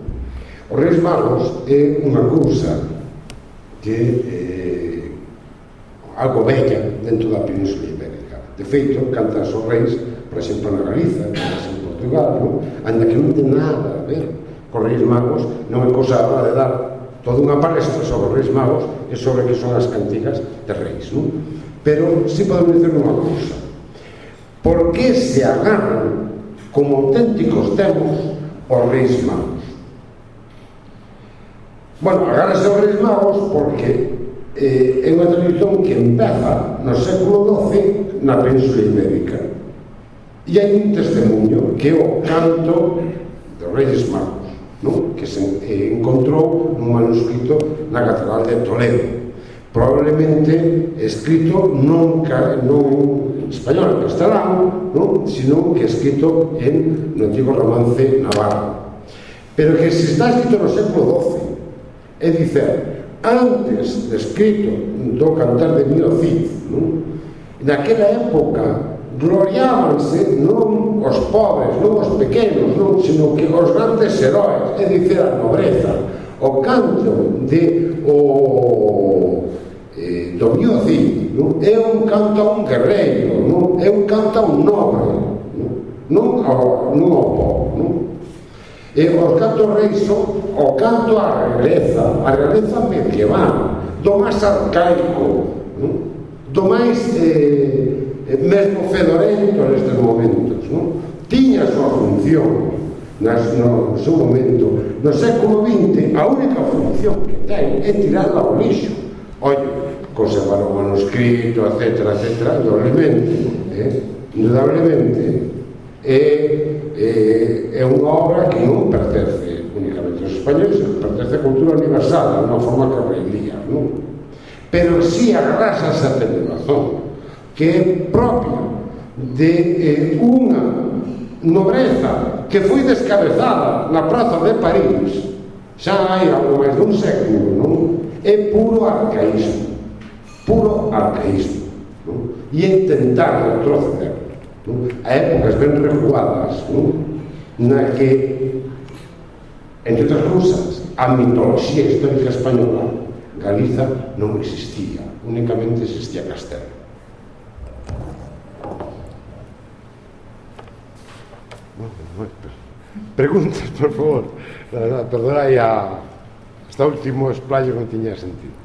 Os Reis Magos é unha cousa que eh, algo bella dentro da Península Ibérica. De feito, cantas os reis, por exemplo, na Galiza, cantas en Portugal, non? Ainda que non ten nada a ver con Reis Magos, non é cousa agora de dar toda unha palestra sobre os Reis Magos e sobre que son as cantigas de reis, non? Pero si podemos dizer unha cousa: por que se agarran como auténticos temos os Reis Magos? Bueno, agárrase os Reis Magos porque eh, é unha tradición que empeza no século doce na Península Ibérica, e hai un testemunho que é o canto dos Reis Magos, non? Que se eh, encontrou nun manuscrito na Catedral de Toledo, probablemente escrito non, non en español, en castelán, non? Sino que escrito en no antigo romance navarro, pero que se está escrito no século doce. É dicer, antes de escrito do Cantar de Mio Cid, non? Naquela época gloriábanse non os pobres, non os pequenos, non, sino que os grandes heróis, é dicer, a nobreza. O canto de o eh, do Mio Cid, non? É un canto a un guerreiro, non? É un canto a un nobre, non, non ao, non ao povo, non? E os cantos reis son o canto á realeza, a realeza medieval, do máis arcaico, non? Do máis eh, mesmo fedorento nestes momentos, non? Tiña a súa función nas, no seu momento. No século vinte a única función que ten é tirarla ao lixo. Oye, conservar o manuscrito, etcétera, etcétera, indudablemente, eh? indudablemente é, é, é unha obra que non pertence únicamente aos españoles, pertence á cultura universal, de unha forma que reilía, non? Pero si agarrasa esa celebración que é propia de eh, unha nobreza que foi descabezada na praza de París xa hai algo máis dun século, non? É puro arcaísmo, puro arcaísmo, non? E intentar retroceder, non? A épocas ben recuadas, non? Na que, entre outras cousas, a mitoloxía histórica española, Galiza non existía, únicamente existía Castela. Preguntas, por favor. Perdona aí a... Este último explayo non tiña sentido.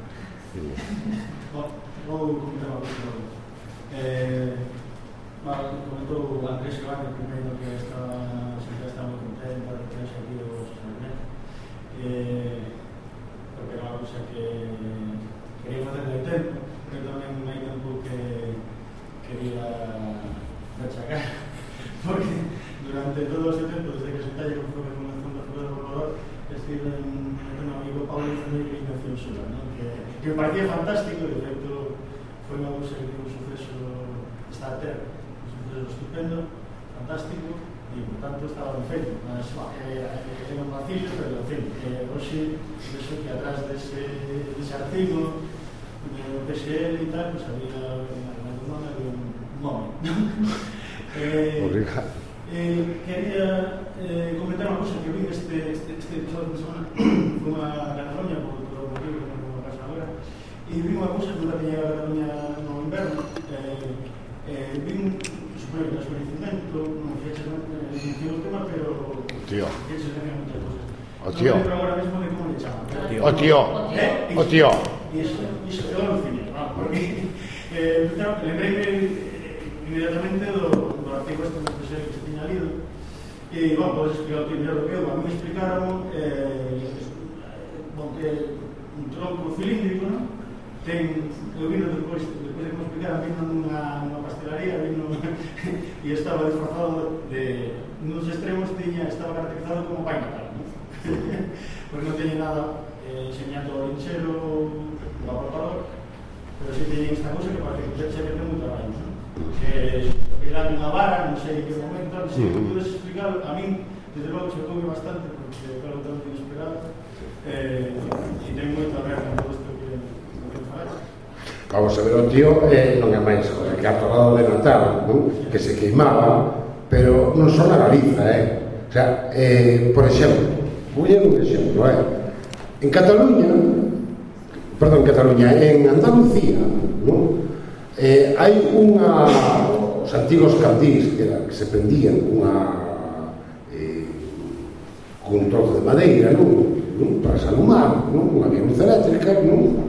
Vou comentar unha cousa. Eh, comentou Andrés Iván, primeiro, que está, sempre está moi contenta de que haxa aquí os Sarnet. Eh, porque era unha cousa que quería facer de tempo, pero tamén hai tempo que quería achacar, porque durante todo ese tempo, desde que se talle con foi a fundación da Figura do Valor, estive en un amigo Pablo Fernández que Ignacio Sula, ¿no? que, que me parecía fantástico, de feito foi unha cousa que tiene un suceso esta terra, un suceso estupendo, fantástico, e por tanto estaba ben feito, mas eh, era un vacío, pero en fin, eh, hoxe vexo que atrás dese, dese artigo do P X L e tal, pues había unha comanda de un home. eh, Obrigado. Eh, quería eh, comentar unha cosa que vi este, este, este episodio de semana. Fui a Cataluña por todo o motivo que non pasa agora, e vi unha cosa que nunca tiña a Cataluña no inverno. eh, eh, vi un supoño que a desconhecimento, non fixeche mención o tema, pero tío. fixeche mención moitas cosas. O tío. Non lembro agora mesmo de como le chaman. O tío. O tío. E iso, iso, eu aluciné, porque Eh, lembrei-me inmediatamente do, do artigo este que se, que se tiña lido e, bueno, podes explicar o que mellor do que eu. A mí me explicaron eh, bon, que un tronco cilíndrico, non? Ten, eu vino depois, depois de que me explicaran, vino nunha, nunha pastelaría, vino e estaba disfrazado de, nos extremos tiña, estaba caracterizado como pai natal, non? Porque non teña nada eh, enseñando o linchero, o apartador, pero si teñen esta cosa que parece que se que ten moito traballo, non? Que pegar unha vara, non sei en que momento, non sei, que podes explicar, a min, desde logo, se come bastante, porque claro, tamén teño esperado, eh, e ten moito a ver con todo isto que que falar. Vamos a ver, o tío eh, non é máis que a torrada de Natal, non? Que se queimaba, pero non só na Galiza, eh? O sea, eh, por exemplo, vou ler un exemplo, eh? En Cataluña, perdón, en Cataluña, en Andalucía, non? Eh, hai unha, os antigos candís que, era, que se prendían unha eh, con un trozo de madeira, non? Non? Para salumar, non? Unha había luz eléctrica, non?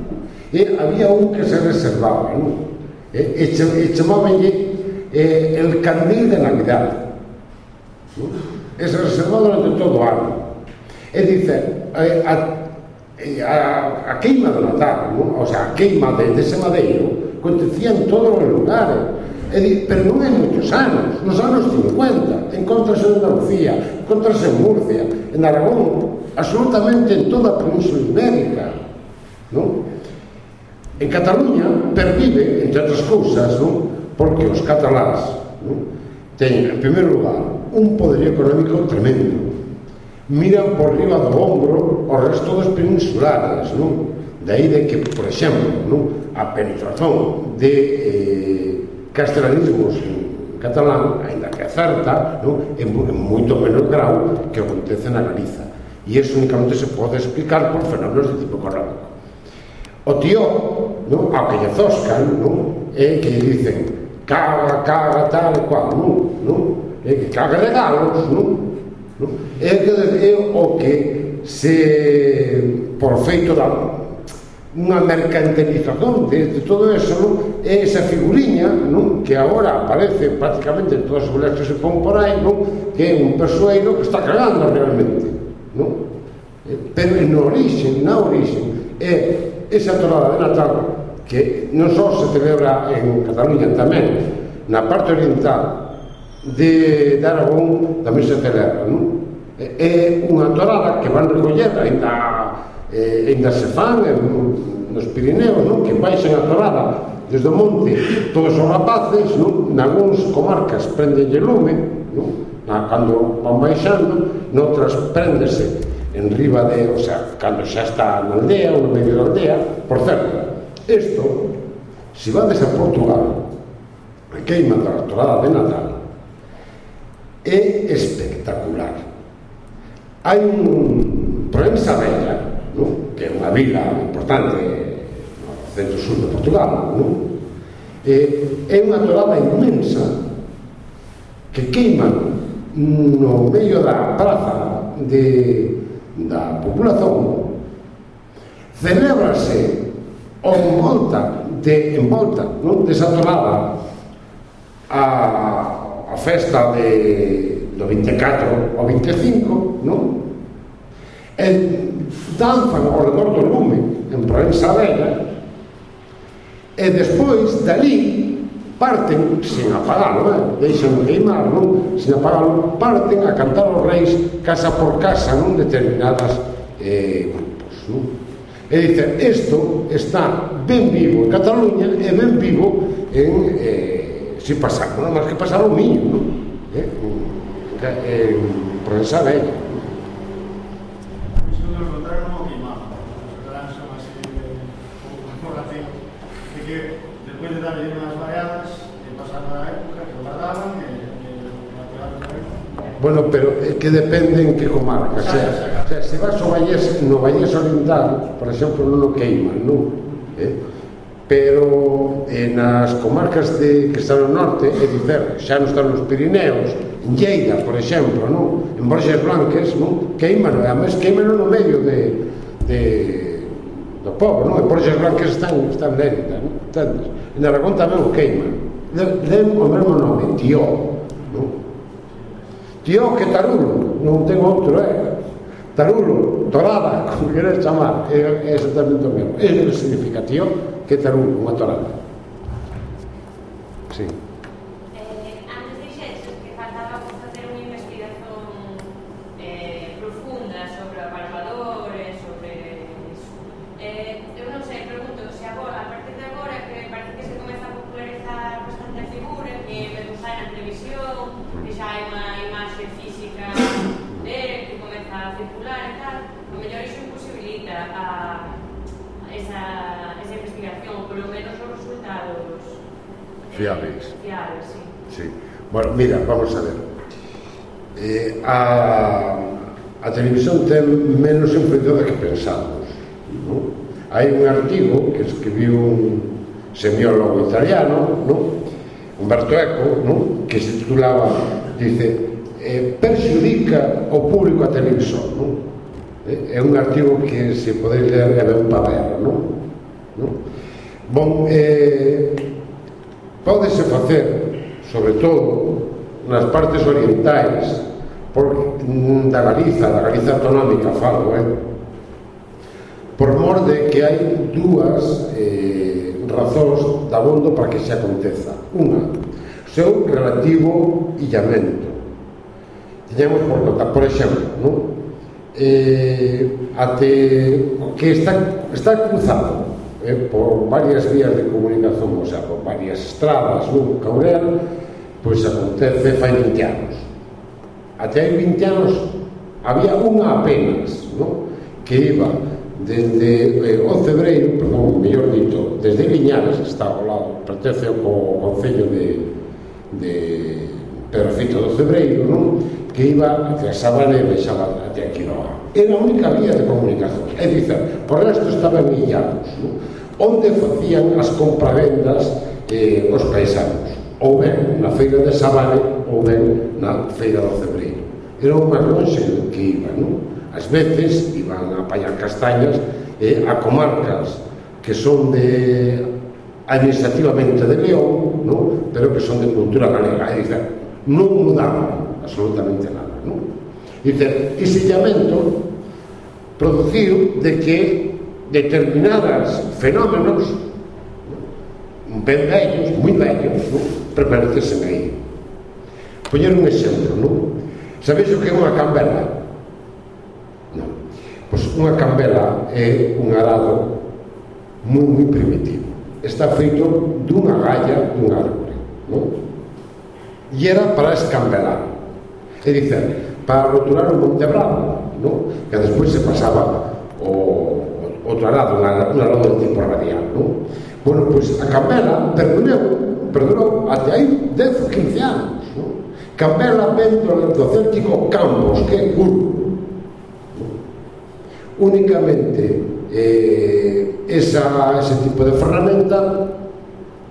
E había un que se reservaba, non? E, e, e chamábanlle eh, el candil de Navidad, non? E se reservaba durante todo o ano. É dicer, a, a, a queima do Natal, non? O sea, a queima de, dese madeiro acontecía en todos os lugares, é di, pero non hai moitos anos, nos anos cincuenta, encontrase en Andalucía, encontrase en Murcia, en Aragón, absolutamente en toda a península ibérica, non? En Cataluña pervive, entre outras cousas, non? Porque os cataláns, non? Teñen, en primeiro lugar, un poderío económico tremendo, miran por riba do ombro o resto dos peninsulares, non? De aí de que, por exemplo, non? A penetración de eh, castelanismos en catalán, ainda que é certa, non? En, en moito menor grau que acontece na Galiza, e iso únicamente se pode explicar por fenómenos de tipo económico. O tío, non? Ao que lle zoscan, non? É que lle dicen caga, caga, tal e cual, non? Non? É que caga regalos, non? Non? É que é o que se por feito da unha mercantilización de, de todo eso, non? É esa figuriña, non? Que agora aparece prácticamente en todas as bolas que se pon por aí, non? Que é un persoeiro que está cagando realmente, non? Pero no origen, na origen, é esa torrada de Natal que non só se celebra en Cataluña, tamén na parte oriental de, de Aragón tamén se celebra, non? É unha torrada que van recoller ainda, eh, ainda se fan en, nos Pirineos, non? Que baixan a torrada desde o monte todos os rapaces, non? Nalgúns comarcas prendenlle lume, non? Na, cando van baixando, noutras prendese en riba de, o sea, cando xa está na aldea ou no medio da aldea. Por certo, isto, se vades a Portugal, a queima da torrada de Natal é espectacular. Hai un Proensa Bella, non? Que é unha vila importante no centro-sur de Portugal, non? E é unha torrada inmensa que queima no medio da praza de da populación. Celébrase o envolta de envolta, non? Desa torrada a, a festa de, do vinte e catro ao vinte e cinco, non? E danzan ao redor do lume en Proensa Bella, e despois dali parten, sin apagalo, eh? Deixan de queimar, non? Sin apagalo, parten a cantar os reis casa por casa, non? Determinadas eh, grupos, non? É dicir, isto está ben vivo en Cataluña e ben vivo en eh, si pasar, non? Mas que pasar o miño, non? Eh? En Proensa Bella. Iso nos contaron o queimado, os cataláns son así de corracción, de que despois de darle unhas variadas, pasada a época, que guardaban e maturaron a época. Bueno, pero é que depende en que comarca, o sea, o sea, se vas ao Vallés, no Vallés Oriental, por exemplo, non o queiman, non? Eh? Pero eh, nas comarcas de, que están no norte, é dicer, xa non están nos Pirineos, en Lleida, por exemplo, non? En Borges Blanques, non? Queiman, además queiman no medio de, de, do povo, non? E por esas blancas están, están lenta, non? Entendes? En Aragón tamén o queima. Den o mesmo nome, Tío, non? Tío que Tarulo, non ten outro, eh? Tarulo, Torada, como queres chamar, é, é exactamente o mesmo. É o que significa Tío que Tarulo, unha torada. Sí. Fiables. Fiables, sí. Sí. Bueno, mira, vamos a ver. Eh, a, a televisión ten menos influencia do que pensamos, ¿no? Hai un artigo que escribiu un semiólogo italiano, ¿no? Umberto Eco, ¿no? Que se titulaba, dice, eh, perxudica o público a televisión, ¿no? Eh, é un artigo que se podeis ler e ben para ver, ¿no? ¿No? Bon, eh, pódese facer, sobre todo nas partes orientais, por, da Galiza, da Galiza autonómica falo, eh? Por mor de que hai dúas eh, razóns da bondo para que se aconteza. Unha, seu relativo illamento. Teñamos por conta, por exemplo, non? Eh, até que está, está cruzado Eh, por varias vías de comunicación, o sea, por varias estradas, no? Caurel, pois acontece fai vinte anos. Até hai vinte anos había unha apenas, no? Que iba desde eh, o Cebreiro, perdón, mellor dito, desde Viñales, que está ao lado, pertence ao concello de, de Perafito do Cebreiro, no? Que iba até a Sabana e baixaba até a Quiroga. Era a única vía de comunicación, é dicir, por resto estaban illados, no? Onde facían as compravendas eh, os paisanos, ou ben na feira de Sabane ou ben na feira do Cebreiro. Era o máis longe que iban, non? Ás veces iban a apañar castañas eh, a comarcas que son de administrativamente de León, non? Pero que son de cultura galega, é dicir, non mudaban absolutamente nada, non? Dice, ese illamento produciu de que determinadas fenómenos ben vellos, moi vellos, non? Permanecesen aí. Poñer un exemplo, non? Sabeis o que é unha cambela? Non. Pois unha cambela é un arado moi, moi primitivo. Está feito dunha galla dun árbore, non? E era para escambelar. É dicir, para roturar o Monte Bravo, non? Que despois se pasaba o outro arado, un arado de tipo radial, non? Bueno, pois a cambela perdurou, perdurou até aí dez ou quince anos, non? Cambela dentro do céltico campos, que é curvo. Únicamente eh, esa, ese tipo de ferramenta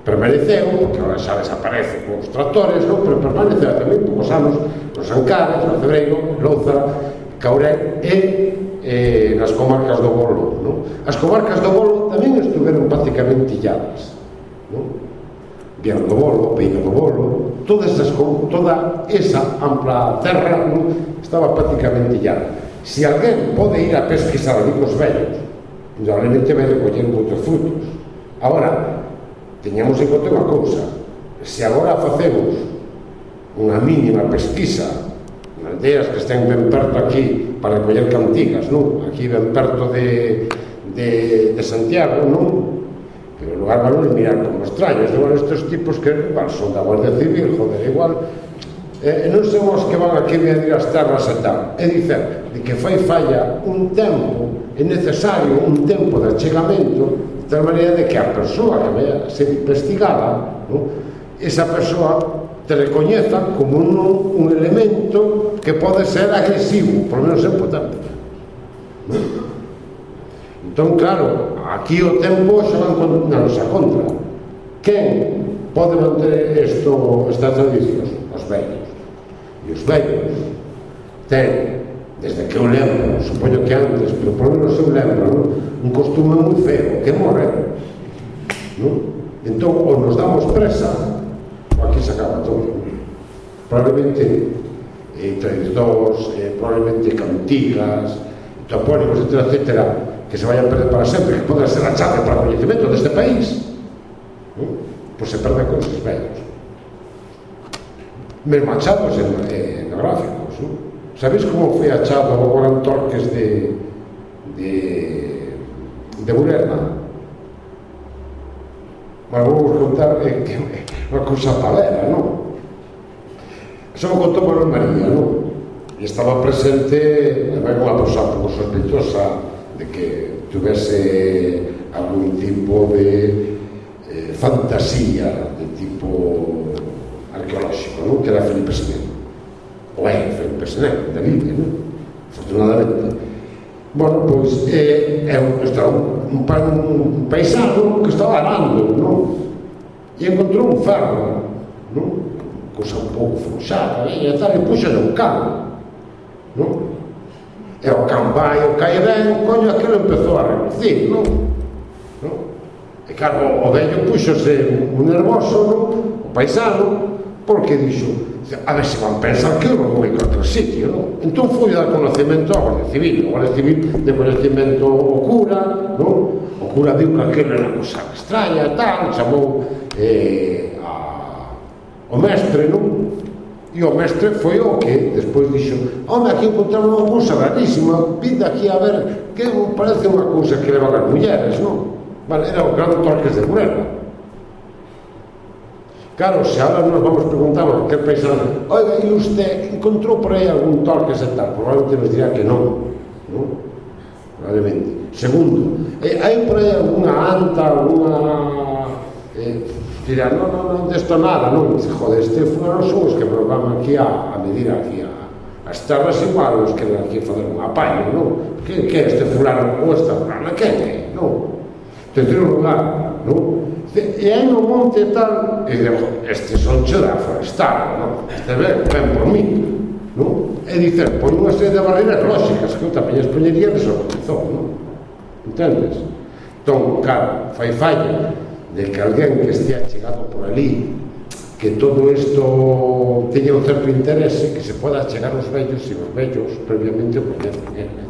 permaneceu, porque agora xa desaparece con os tractores, non? Pero permaneceu tamén poucos anos nos Ancares, no Cebreiro, Lóuzara, Caurel e eh, nas comarcas do Bolo, non? As comarcas do Bolo tamén estuveron prácticamente illadas, non? Viana do Bolo, Peina do Bolo, todas esas, toda esa ampla terra, non? Estaba prácticamente illada. Se alguén pode ir a pesquisar ali cos vellos, realmente vai recoller moitos frutos. Agora, teñamos en conta unha cousa, se agora facemos unha mínima pesquisa nas aldeas que estén ben perto aquí para recoller cantigas, non? Aquí ben perto de, de, de Santiago, non? Pero en lugar van a mirar como extraños, igual estes tipos que igual son da Guardia Civil, joder, igual eh, non son os que van aquí medir as terras e tal. É dicer, de que fai falla un tempo, é necesario un tempo de achegamento, de tal maneira de que a persoa que vai a ser investigada, non? Esa persoa te recoñeza como un, un elemento que pode ser agresivo, por lo menos en potencia, non? Entón, claro, aquí o tempo xa van na nosa contra. Quen pode manter isto, estas tradicións? Os vellos. E os vellos ten desde que eu lembro, supoño que antes, pero por menos eu lembro, non? Un costume moi feo, que é morrer, non? Entón, ou nos damos presa, ou aquí se acaba todo. Probablemente eh, traidores, eh, probablemente cantigas, topónimos, etcétera, etcétera, que se vayan a perder para sempre, que poden ser a chave para o coñecemento deste país, non? Pois se perde con esos vellos. Mesmo achados en etnográficos, non? Sabéis como foi achado o Gran Torques de de de Burela? Bueno, vou contar eh, que unha cousa palera, non? Eso me contou Manuel María, non? E estaba presente unha persoa pouco sospeitosa de que tuvese algún tipo de eh, fantasía de tipo arqueolóxico, non? Que era Felipe Senén. O é Felipe Senén, de Vive, non? Afortunadamente. Bueno, pois é, é un, un, un paisano que estaba arando, non? E encontrou un ferro, non? Cosa un pouco fluxada, e tal, e puxa un can, non? E o can vai, o cae ben, coño, aquilo empezou a relucir, non? non? E claro, o vello puxose un nervoso, non? O paisano, porque dixo, a ver se van pensar que eu non vou ir a outro sitio, non? Entón foi dar conocemento á Guardia Civil, a Guardia Civil de conocemento o cura, non? O cura viu que aquilo era cosa extraña e tal, chamou eh, a, o mestre, non? E o mestre foi o que despois dixo, home, aquí encontramos unha cousa rarísima, vinde aquí a ver que parece unha cousa que levan as mulleres, non? Vale, era o Gran Torques de Burela. Claro, se ahora nos vamos preguntar a que paisano, oiga, e usted encontrou por aí algún Torques e tal? Probablemente nos dirá que non, non? Probablemente. Segundo, eh, hai por aí alguna anta, alguna... Eh, dirá, non, non, non, desto nada, non? Dice, joder, este fulano son os que nos van aquí a, a medir aquí a, as terras igual, os que ven aquí a fazer un apaño, non? Que, que é este fulano ou esta fulana? Que é? Non? Terceiro lugar, non? E hai no monte e tal, e digo, este son che da forestal, non? Este ven, ven por mí, non? E dicer, pois unha serie de barreiras lóxicas que eu tamén as poñería que se organizou, non? Entendes? Entón, claro, fai falla de que alguén que estea chegado por ali, que todo isto teña un certo interese, que se poda chegar aos vellos e os vellos previamente o coñecen ele.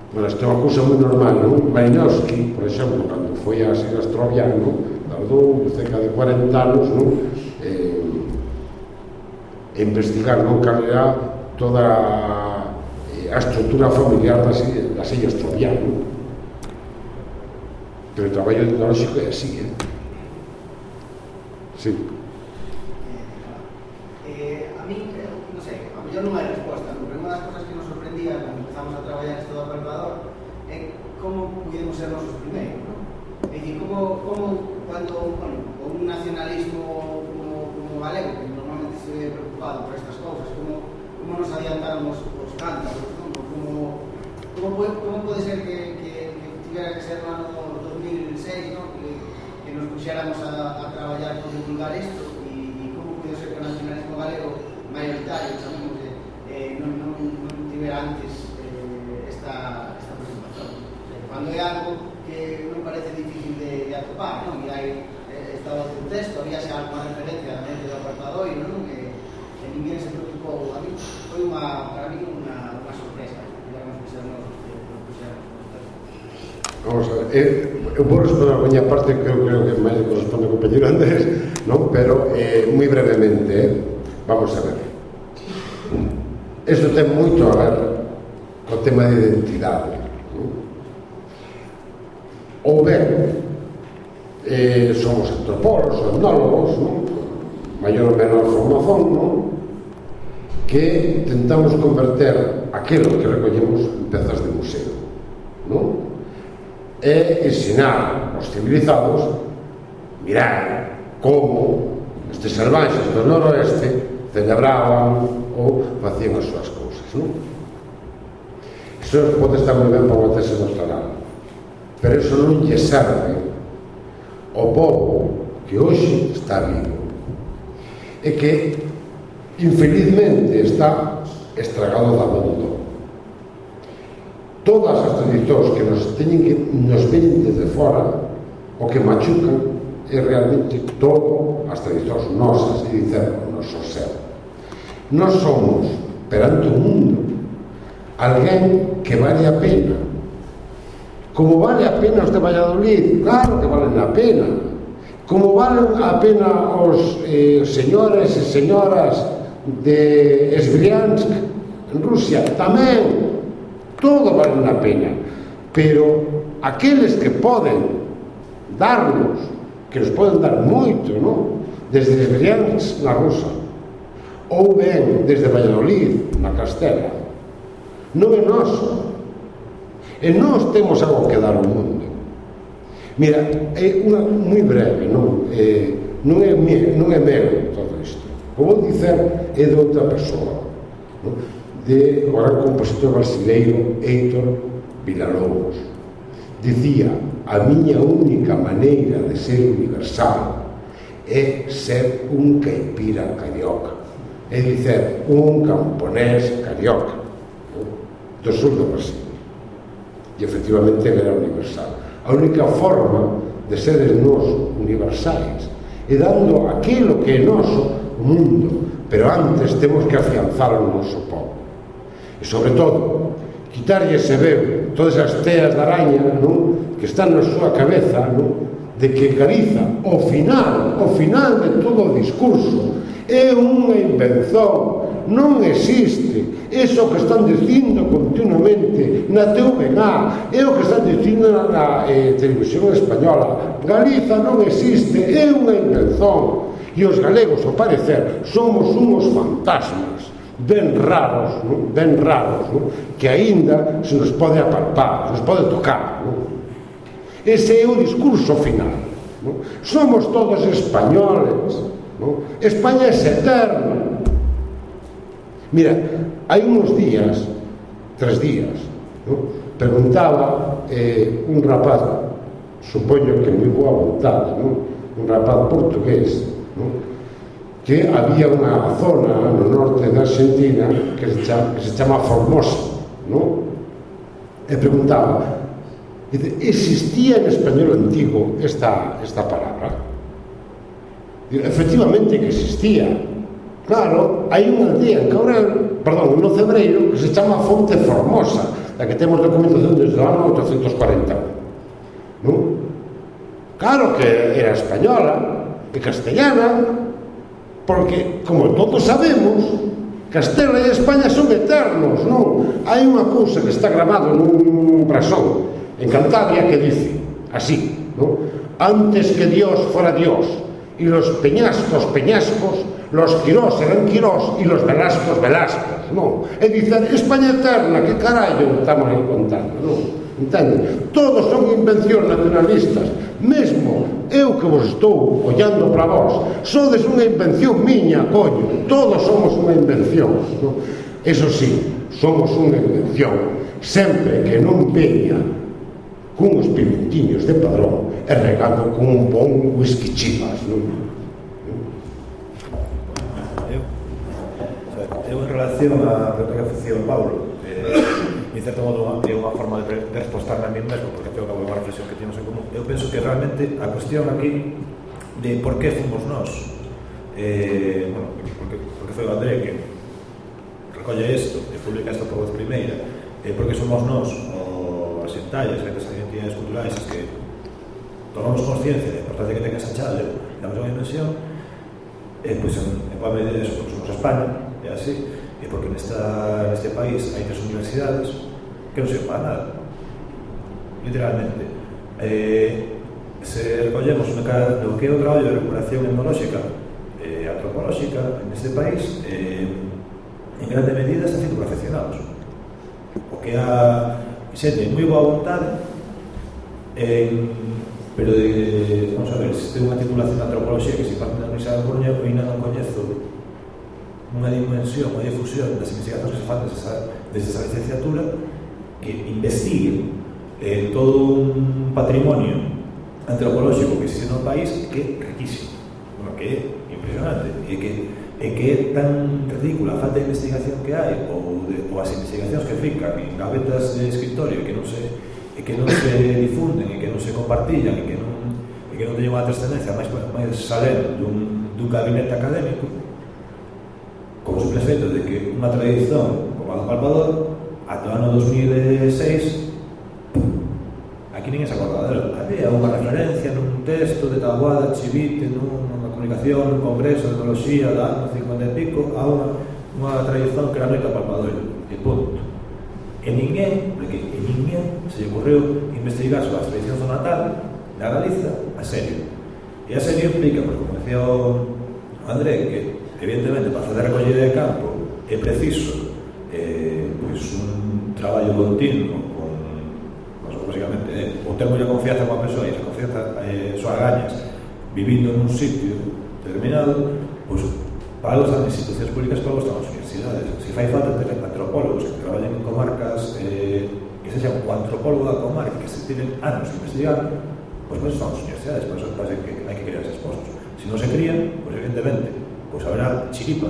Bueno, isto é unha cousa moi normal, non? Malinowski, por exemplo, cando foi a Sigas Troviano, tardou cerca de cuarenta anos, non? Eh, investigar, non? Cal era toda eh, a estrutura familiar das, das illas Troviano. Pero o traballo tecnolóxico é así, eh? Sí. Eh, a mí, non sei, a mellor non hai resposta, pero unha das cosas que nos sorprendía cando empezamos a traballar isto do apalpador é como pudimos ser nosos primeiros, non? É dicir, como, como cando, bueno, un nacionalismo como, como galego, que normalmente se ve preocupado por estas cousas, como, como nos adiantáramos os cántaros, non? Como, como, pode, como pode ser que, que, que tivera que ser no ano dos mil seis, non? Que, que nos puxéramos a, a traballar por divulgar isto, e, e como pode ser que o nacionalismo galego mayoritario, chamemos de, eh, non, non, non tivera antes eh, esta, esta presentación. O sea, cando é algo que non parece difícil de, de atopar, non? E hai eh, estado un texto, había xa alguna referencia dentro do apartadoiro, non? E, e ninguén se preocupou. A mí foi unha, para mí unha, unha sorpresa, digamos que ser nos que puxéramos. Vamos a ver, eh, eu vou responder a miña parte, que eu creo que máis corresponde ao compañero Andrés, non? Pero eh, moi brevemente, eh? Vamos a ver. Isto ten moito a ver co tema de identidade, non? Ou ben eh, somos antropólogos, etnólogos, non? Maior ou menor formación, non? Que tentamos converter aquilo que recollemos en pezas de museo, non? E ensinar aos civilizados mirar como estes salvaxes do noroeste celebraban ou facían as súas cousas, non? Iso pode estar moi ben para unha tese doctoral, pero iso non lle serve ao povo que hoxe está vivo e que infelizmente está estragado da mundo. Todas as tradicións que nos teñen que nos ven desde fora, o que machucan é realmente todo as tradicións nosas e dicer o noso ser. Nós somos, perante o mundo, alguén que vale a pena. Como vale a pena os de Valladolid, claro que valen a pena. Como valen a pena os eh, señores e señoras de Sbriansk, en Rusia, tamén, todo vale a pena. Pero aqueles que poden darnos, que nos poden dar moito, non? Desde Sbriansk na Rusa, ou ben desde Valladolid na Castela, non é noso. E nós temos algo que dar ao mundo. Mira, é unha moi breve, non? É, non é non é meu todo isto. O vou dicer é de outra persoa, non? De o gran compositor brasileiro Heitor Villa-Lobos. Dicía: a miña única maneira de ser universal é ser un caipira carioca, é dicer, un camponés carioca, non? Do sur do Brasil. E efectivamente era universal. A única forma de seres nós universais é dando aquilo que é noso o mundo, pero antes temos que afianzar o noso povo. E sobre todo, quitarlle ese veo, todas as teas de araña, non? Que están na súa cabeza, non? De que Galiza, ao final, ao final de todo o discurso, é unha invención, non existe. Eso que están dicindo continuamente na T V N A, é o que están dicindo na, na eh, televisión española. Galiza non existe, é unha invención. E os galegos, ao parecer, somos uns fantasmas ben raros, non? ben raros, non? Que aínda se nos pode apalpar, se nos pode tocar, non? Ese é o discurso final, non? Somos todos españoles, non? España é eterna. Mira, hai uns días, tres días, non? Preguntaba eh, un rapaz, supoño que moi boa vontade, non? Un rapaz portugués, non? Que había unha zona no norte da Argentina que se chama, que se chama Formosa, non? E preguntaba, existía en español antigo esta, esta palabra? Digo, efectivamente que existía. Claro, hai unha aldea en Cabrel, perdón, no Cebreiro, que se chama Fonte Formosa, da que temos documentación desde o ano oitocentos cuarenta e un, non? Claro que era española e castellana, porque, como todos sabemos, Castela e España son eternos, non? Hai unha cousa que está grabado nun brasón en Cantabria que dice así, non? Antes que Dios fuera Dios y los peñascos peñascos, los quirós eran quirós y los velascos velascos, non? É dizer, España eterna, que carallo estamos aí contando, non? Entende? Todos son invencións nacionalistas. Mesmo eu que vos estou ollando para vos, sodes unha invención miña, coño. Todos somos unha invención, non? Eso sí, somos unha invención sempre que non veña cunhos pimentiños de Padrón e regado con un bon whisky chivas, non? Eu, eu en relación á que facía o Paulo, eh, en certo modo é unha forma de, de respostarme a mí mesmo, porque creo que é unha reflexión que temos en común. Eu penso que realmente a cuestión aquí de por que fomos nós, eh, bueno, porque, porque foi o André que recolle isto e publica isto por vez primeira, eh, porque somos nós o as entallas, as identidades culturais as que tomamos consciencia da importancia que ten esa chale e damos unha dimensión, e pois en, en boa medida eso, porque somos España, é así, e porque nesta, neste país hai tres universidades que non sirven para nada, literalmente. Eh, se recollemos no que é o traballo de recuperación etnolóxica e eh, antropolóxica neste país, eh, en grande medida está feito por aficionados, o que a xente moi boa vontade, eh, pero de, vamos a ver, se ten unha titulación de antropoloxía que se parte na Universidade de Coruña, eu ainda non coñezo unha dimensión, unha difusión das investigacións que se fan desde esa, desde esa licenciatura que investigue eh, todo un patrimonio antropolóxico que existe no país que é riquísimo, bueno, que é impresionante e que e que é tan ridícula a falta de investigación que hai ou, de, ou as investigacións que fican en gavetas de escritorio que non se, e que non se difunden e que non se compartillan e que non, e que non teñen unha trascendencia máis, máis salendo dun, dun gabinete académico como simple feito de que unha tradición como a do Palpador ata o ano dos mil e seis aquí ninguén se acorda dela. Había unha referencia nun texto de Taboada, Chivite, nunha comunicación, nun congreso de etnoloxía da ano cincuenta e pico a unha, unha tradición que era noite a Palpadoiro, e punto. E ninguén, porque e ninguén se lle ocurreu investigar sobre as tradicións do Natal da Galiza a serio. E a serio implica, porque como decía o André, que evidentemente para fazer recollida de campo é preciso eh, pois un traballo continuo con, pues, básicamente, eh, o termo de confianza con a persoa e a confianza eh, soa gañas vivindo nun sitio determinado, pois pues, para as institucións públicas, para as universidades. Se fai falta ter antropólogos que traballen en comarcas eh, que se chama o antropólogo da comarca, que se tienen anos de investigar, pois pues, para as universidades, para eso parece que hai que crear esos postos. Se non se crían, pois pues, evidentemente, pois pues, haberá chiripa.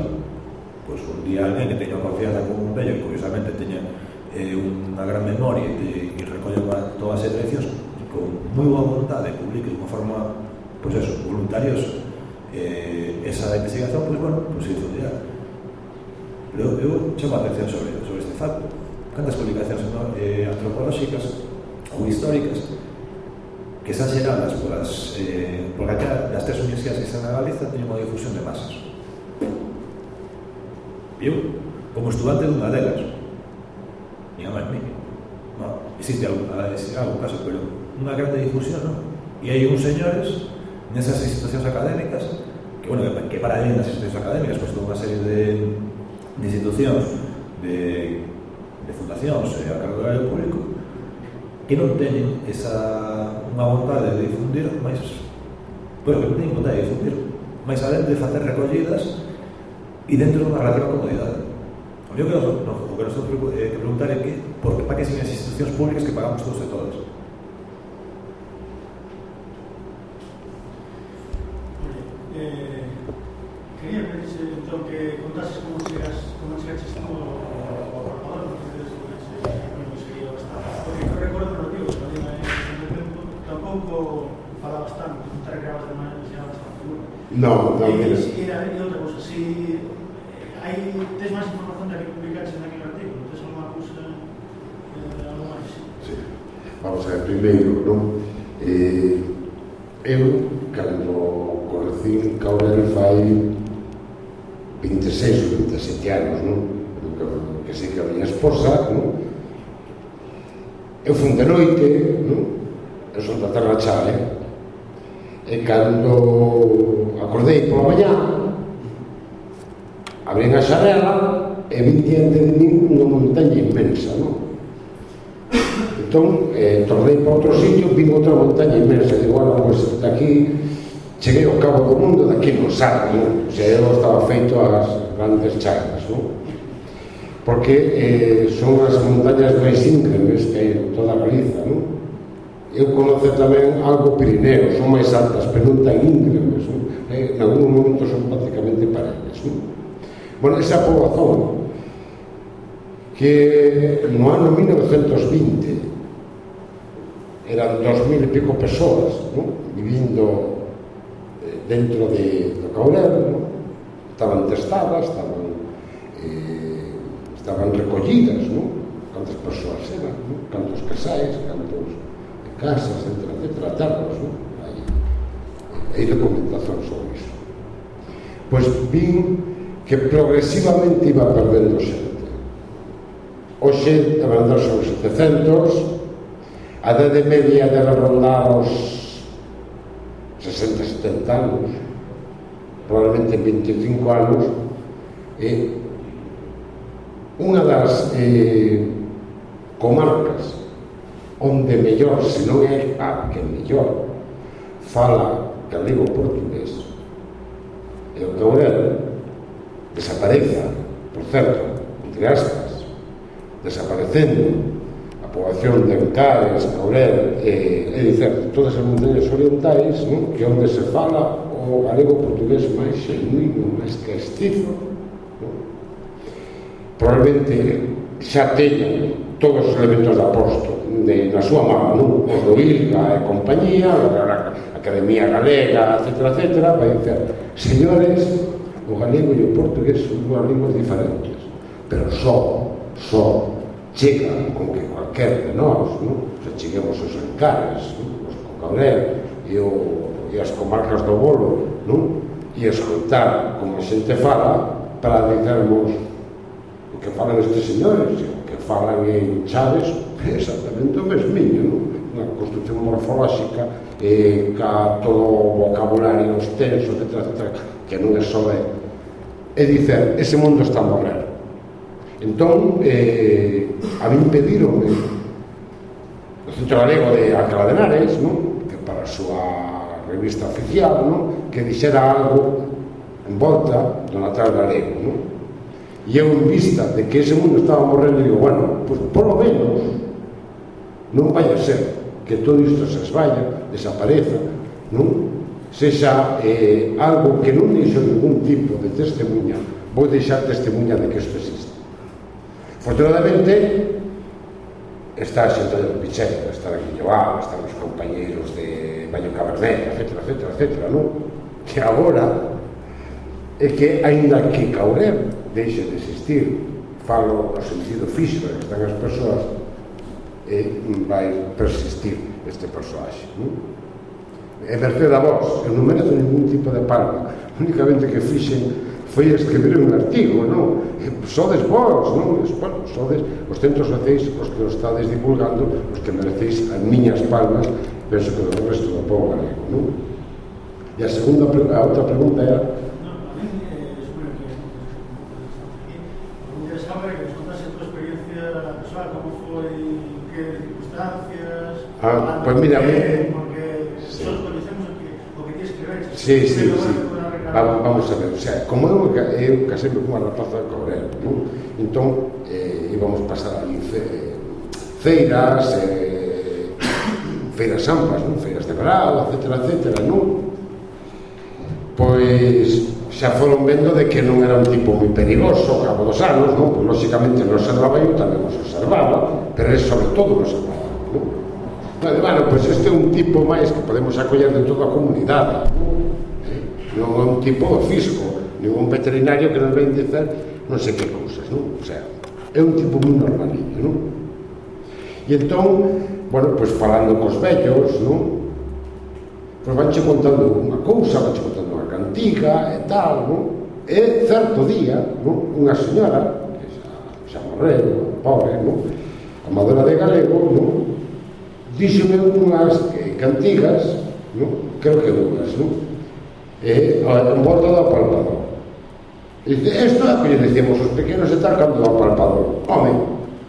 Pois un día alguén que teña confianza con un vello e curiosamente teña eh, unha gran memoria e, e recolle todas as tradicións con moi boa vontade e publique de unha forma, pois pues eso, voluntariosa eh, esa investigación, pois pues, bueno, pois pues, se difundirá. Pero eu chamo a atención sobre, sobre este facto. Cantas publicacións no, eh, antropolóxicas ou históricas que están xeradas polas, eh, por aquela das tres universidades que están na Galiza teñen unha difusión de masas. Eu, como estudante dunha delas, ni a máis mínimo, no, existe algún, existe algún caso, pero unha grande difusión, non? E hai uns señores nesas institucións académicas que, bueno, que, que para além das institucións académicas, pois toda unha serie de, de institucións, de, de fundacións e a cargo do erario público que non teñen esa unha vontade de difundir máis, bueno, que non teñen vontade de difundir máis além de facer recollidas e dentro dunha relativa comodidade. O que nos, no, o que nos tengo que preguntar é que por que para que siguen as institucións públicas que pagamos todos e todas. Eh, quería que, entón, que contases como chegas, como chegaches tú ao Palpador, porque sería bastante. Porque eu recordo no tío, que había en tempo, tampouco falabas tanto, non te recreabas de máis, xa bastante duro. No, no, mira. E outra cosa, si hai, tes máis información da que publicaches naquele artigo, tes alguma cousa, eh, algo máis? Sí. Vamos a ver, primeiro, non? Eh, eu, cando conocí Caurel fai vinte e seis ou vinte e sete anos, non? Que sei que a miña esposa, non? Eu fun de noite, non? Eu son da Terra Chá, eh? E cando acordei pola mañá, abrín a xarela e vin diante de min unha montaña inmensa, non? Entón, eh, tornei para outro sitio, vin outra montaña inmensa, e digo, bueno, pois pues, daqui cheguei ao cabo do mundo, daqui non sabe, non? O sea, eu estaba feito ás grandes chagas, non? Porque eh, son as montañas máis íngremes que hai en toda a Galiza, non? Eu conoce tamén algo Pirineo, son máis altas, pero non tan íngremes, non? Eh, en algún momento son prácticamente paredes, non? Bueno, esa poboazón que no ano mil novecientos vinte eran dos mil e pico persoas, non? Vivindo eh, dentro de, do Caurel, non? Estaban testadas, estaban eh, estaban recollidas, non? Cantas persoas eran, non? Cantos casais, cantos casas, etcétera, etcétera, terras, non? Hai, hai documentación sobre iso. Pois vin que progresivamente iba perdendo xente. Hoxe debe andar sobre setecentos, a idade media debe rondar os sesenta, setenta anos, probablemente vinte e cinco anos, e unha das eh, comarcas onde mellor, se non é a que mellor fala galego portugués e o Caurel desapareza, por certo, entre aspas, desaparecendo a poboación de Ancares, Caurel, e, é dicer, todas as montañas orientais, non? Que onde se fala o o galego portugués máis genuíno, máis castizo, non? Probablemente xa teñan todos os elementos de aposto de, na súa mão, non? Os do Ilga e compañía, a Academia Galega, etcétera, etcétera, vai dizer, señores, o galego e o portugués son dúas linguas diferentes, pero só, só chega con que cualquier de nós, non? Se cheguemos os encares, non? Os Cocaurel e, o, e as comarcas do Bolo, non? E escoltar como a xente fala para dizermos o que falan estes señores, o que falan en Chaves, é exactamente o mesmiño, non? Unha construcción morfolóxica eh, ca todo o vocabulario extenso, etcétera, etcétera, que non é só é é dicer, ese mundo está a morrer. Entón, eh, a mí pedironme o Centro Galego de Alcalá de Henares, non? Que para a súa revista oficial, non? Que dixera algo en volta do natal galego, non? E eu, en vista de que ese mundo estaba morrendo, digo, bueno, pois pues, polo menos non vai a ser que todo isto se esvaya, desapareza, non? Sexa eh, algo que non deixo ningún tipo de testemunha, vou deixar testemunha de que isto existe. Afortunadamente está a xente do Pichero, está aquí Joao, están os compañeiros de Baño Cabernet, etcétera, etcétera, etcétera, non? Que agora é que, aínda que Caurel deixe de existir, falo no sentido físico de que están as persoas, e vai persistir este persoaxe, non? E merced a vos, eu non merezo ningún tipo de palma, únicamente que fixen foi escribir un artigo, non? E sodes vos, non? Bueno, sodes os centros facéis os que os estades divulgando, os que merecéis as miñas palmas, penso que do resto do povo galego, non? E a segunda, a outra pregunta era... Ah, pues mira, porque, porque sí. Solo conocemos o que, o que tienes que ver. Sí, sí, sí. Vamos, vamos a ver, o sea, como eu, eu casei-me con unha rapaza de Cabrera, non? Entón, eh, íbamos pasar ali fe, feiras, eh, feiras amplas, non? Feiras de verao, etcétera, etcétera, non? Pois xa foron vendo de que non era un tipo moi perigoso ao cabo dos anos, non? Pois, lóxicamente, non observaba, eu tamén os observaba, pero é sobre todo os observaba, non? Bueno, bueno, pois este é un tipo máis que podemos acoller de toda a comunidade, non é un tipo fisco, ningún veterinario que nos ven dicer non sei que cousas, non? O sea, é un tipo moi normalillo, non? E entón, bueno, pois falando cos vellos, non? Pois vanche contando unha cousa, vanche contando unha cantiga e tal, non? E certo día, non? Unha señora, que xa, xa morreu, pobre, non? Amadora de galego, non? Díxome unhas cantigas, non? Creo que dúas, non? E en volta do apalpador. E dice, isto é que lle decíamos os pequenos e tal cando do apalpador. Home,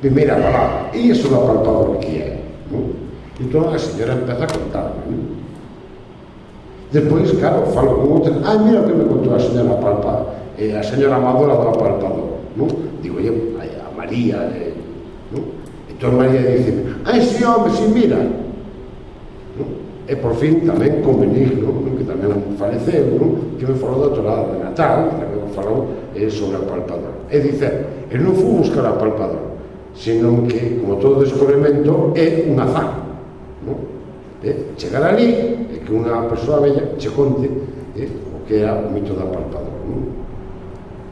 primeira palabra, e iso do apalpador que é, non? Entón a señora empeza a contarme, non? Despois, claro, falo con outra, ah, mira o que me contou a señora apalpador, eh, a señora amadora do apalpador, non? Digo, lle, a María, eh, non? Entón María dice, ai, si, home, si, mira, non? E por fin tamén con Benigno, que tamén faleceu, non? Que me falou da torada de Natal, que tamén me falou eh, sobre o apalpador. É dicer, el non foi buscar o apalpador, senón que, como todo descubrimento, é un azar, non? Eh, chegar ali e que unha persoa bella che conte eh, o que era o mito do apalpador, non?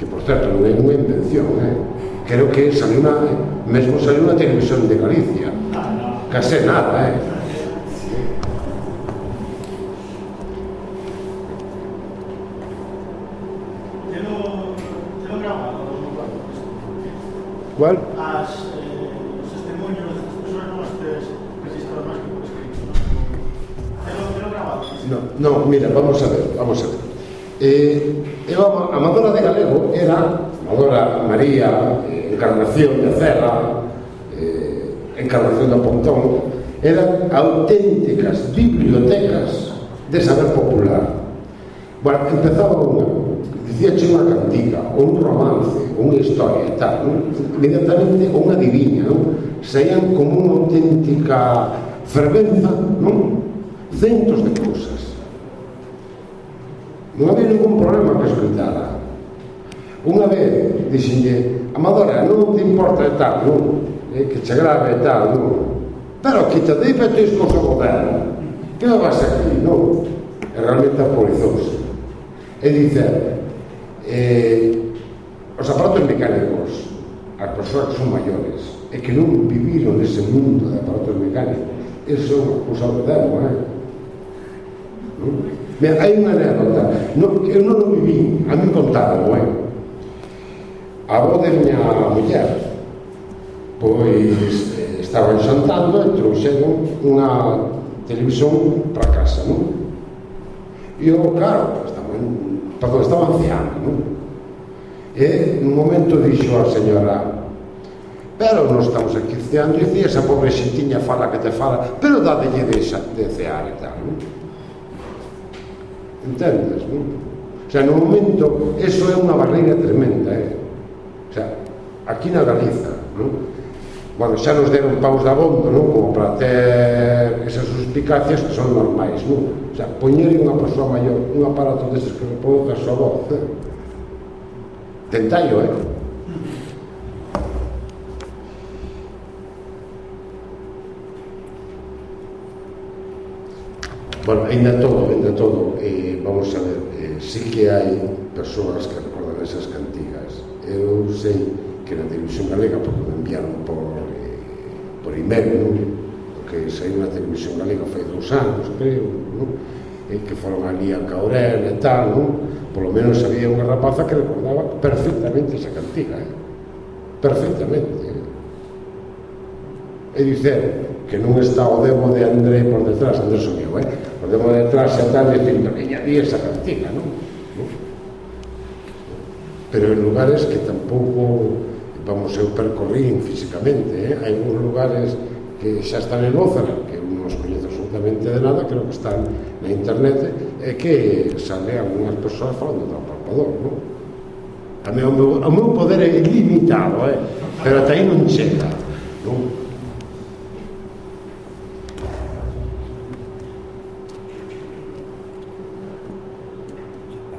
Que, por certo, non é unha invención, eh? Creo que saliu na, mesmo saliu na televisión de Galicia, case nada, eh? ¿Cuál? As, eh, os testimonios das persoas non as tes registradas máis que por escrito, non? Telo, telo grabado? No, no, mira, vamos a ver, vamos a ver. Eh, eu, a Amadora de Galego era Amadora María, eh, Encarnación de Cela, eh, Encarnación de Pontón, eran auténticas bibliotecas de saber popular. Bueno, empezaba unha, dicíache unha cantiga, ou un romance, ou unha historia e tal, non? Inmediatamente, ou unha diviña, non? Saían como unha auténtica fervenza, non? Centos de cousas. non había ningún problema que escritara. Unha vez dixenlle, Amadora, non te importa e tal, non? Eh, que che grave e tal, non? Pero quítate e petes con o goberno, que non vas aquí, non? E realmente apolizouse. E dice, eh, os aparatos mecánicos, as persoas que son maiores e que non viviron nese mundo de aparatos mecánicos, eso é unha cousa de demo, eh? Non? Mira, hai unha anécdota, no, eu non o viví, a mí contaron, eh? A avó de miña muller, pois eh, estaban xantando e trouxeron unha televisión para casa, non? E eu, claro, estaban, perdón, estaban ceando, non? E nun momento dixo a señora, pero non estamos aquí ceando, e dicía, esa pobre xentiña fala que te fala, pero dadelle de, de cear e tal, non? Entendes, non? O sea, no momento, eso é unha barreira tremenda, eh? O sea, aquí na Galiza, non? Bueno, xa nos deron paus de abondo, non? Como para ter esas suspicacias que son normais, non? O sea, poñerle unha persoa maior un aparato destes que reproduz a súa voz, eh? Tentallo, eh? Bueno, ainda todo, ainda todo, eh, vamos a ver, eh, sí que hai persoas que recordan esas cantigas. Eu sei que na televisión galega, porque me enviaron por, eh, por email, non? Porque saiu na televisión galega fai dous anos, creo, non? E que foron ali a Caurel e tal, non? Polo menos había unha rapaza que recordaba perfectamente esa cantiga, eh? Perfectamente, eh? E dicer que non está o demo de André por detrás, André son eu, eh? O demo de detrás e tal, dicindo, veña, di esa cantiga, non? Pero en lugares que tampouco, vamos, eu percorrín físicamente, eh? Hai uns lugares que xa están en Ózara, que non os coñezo absolutamente de nada, creo que están na internet, e que sale algunhas persoas falando do palpador, non? A meu, o meu poder é ilimitado, eh? Pero ata aí non chega.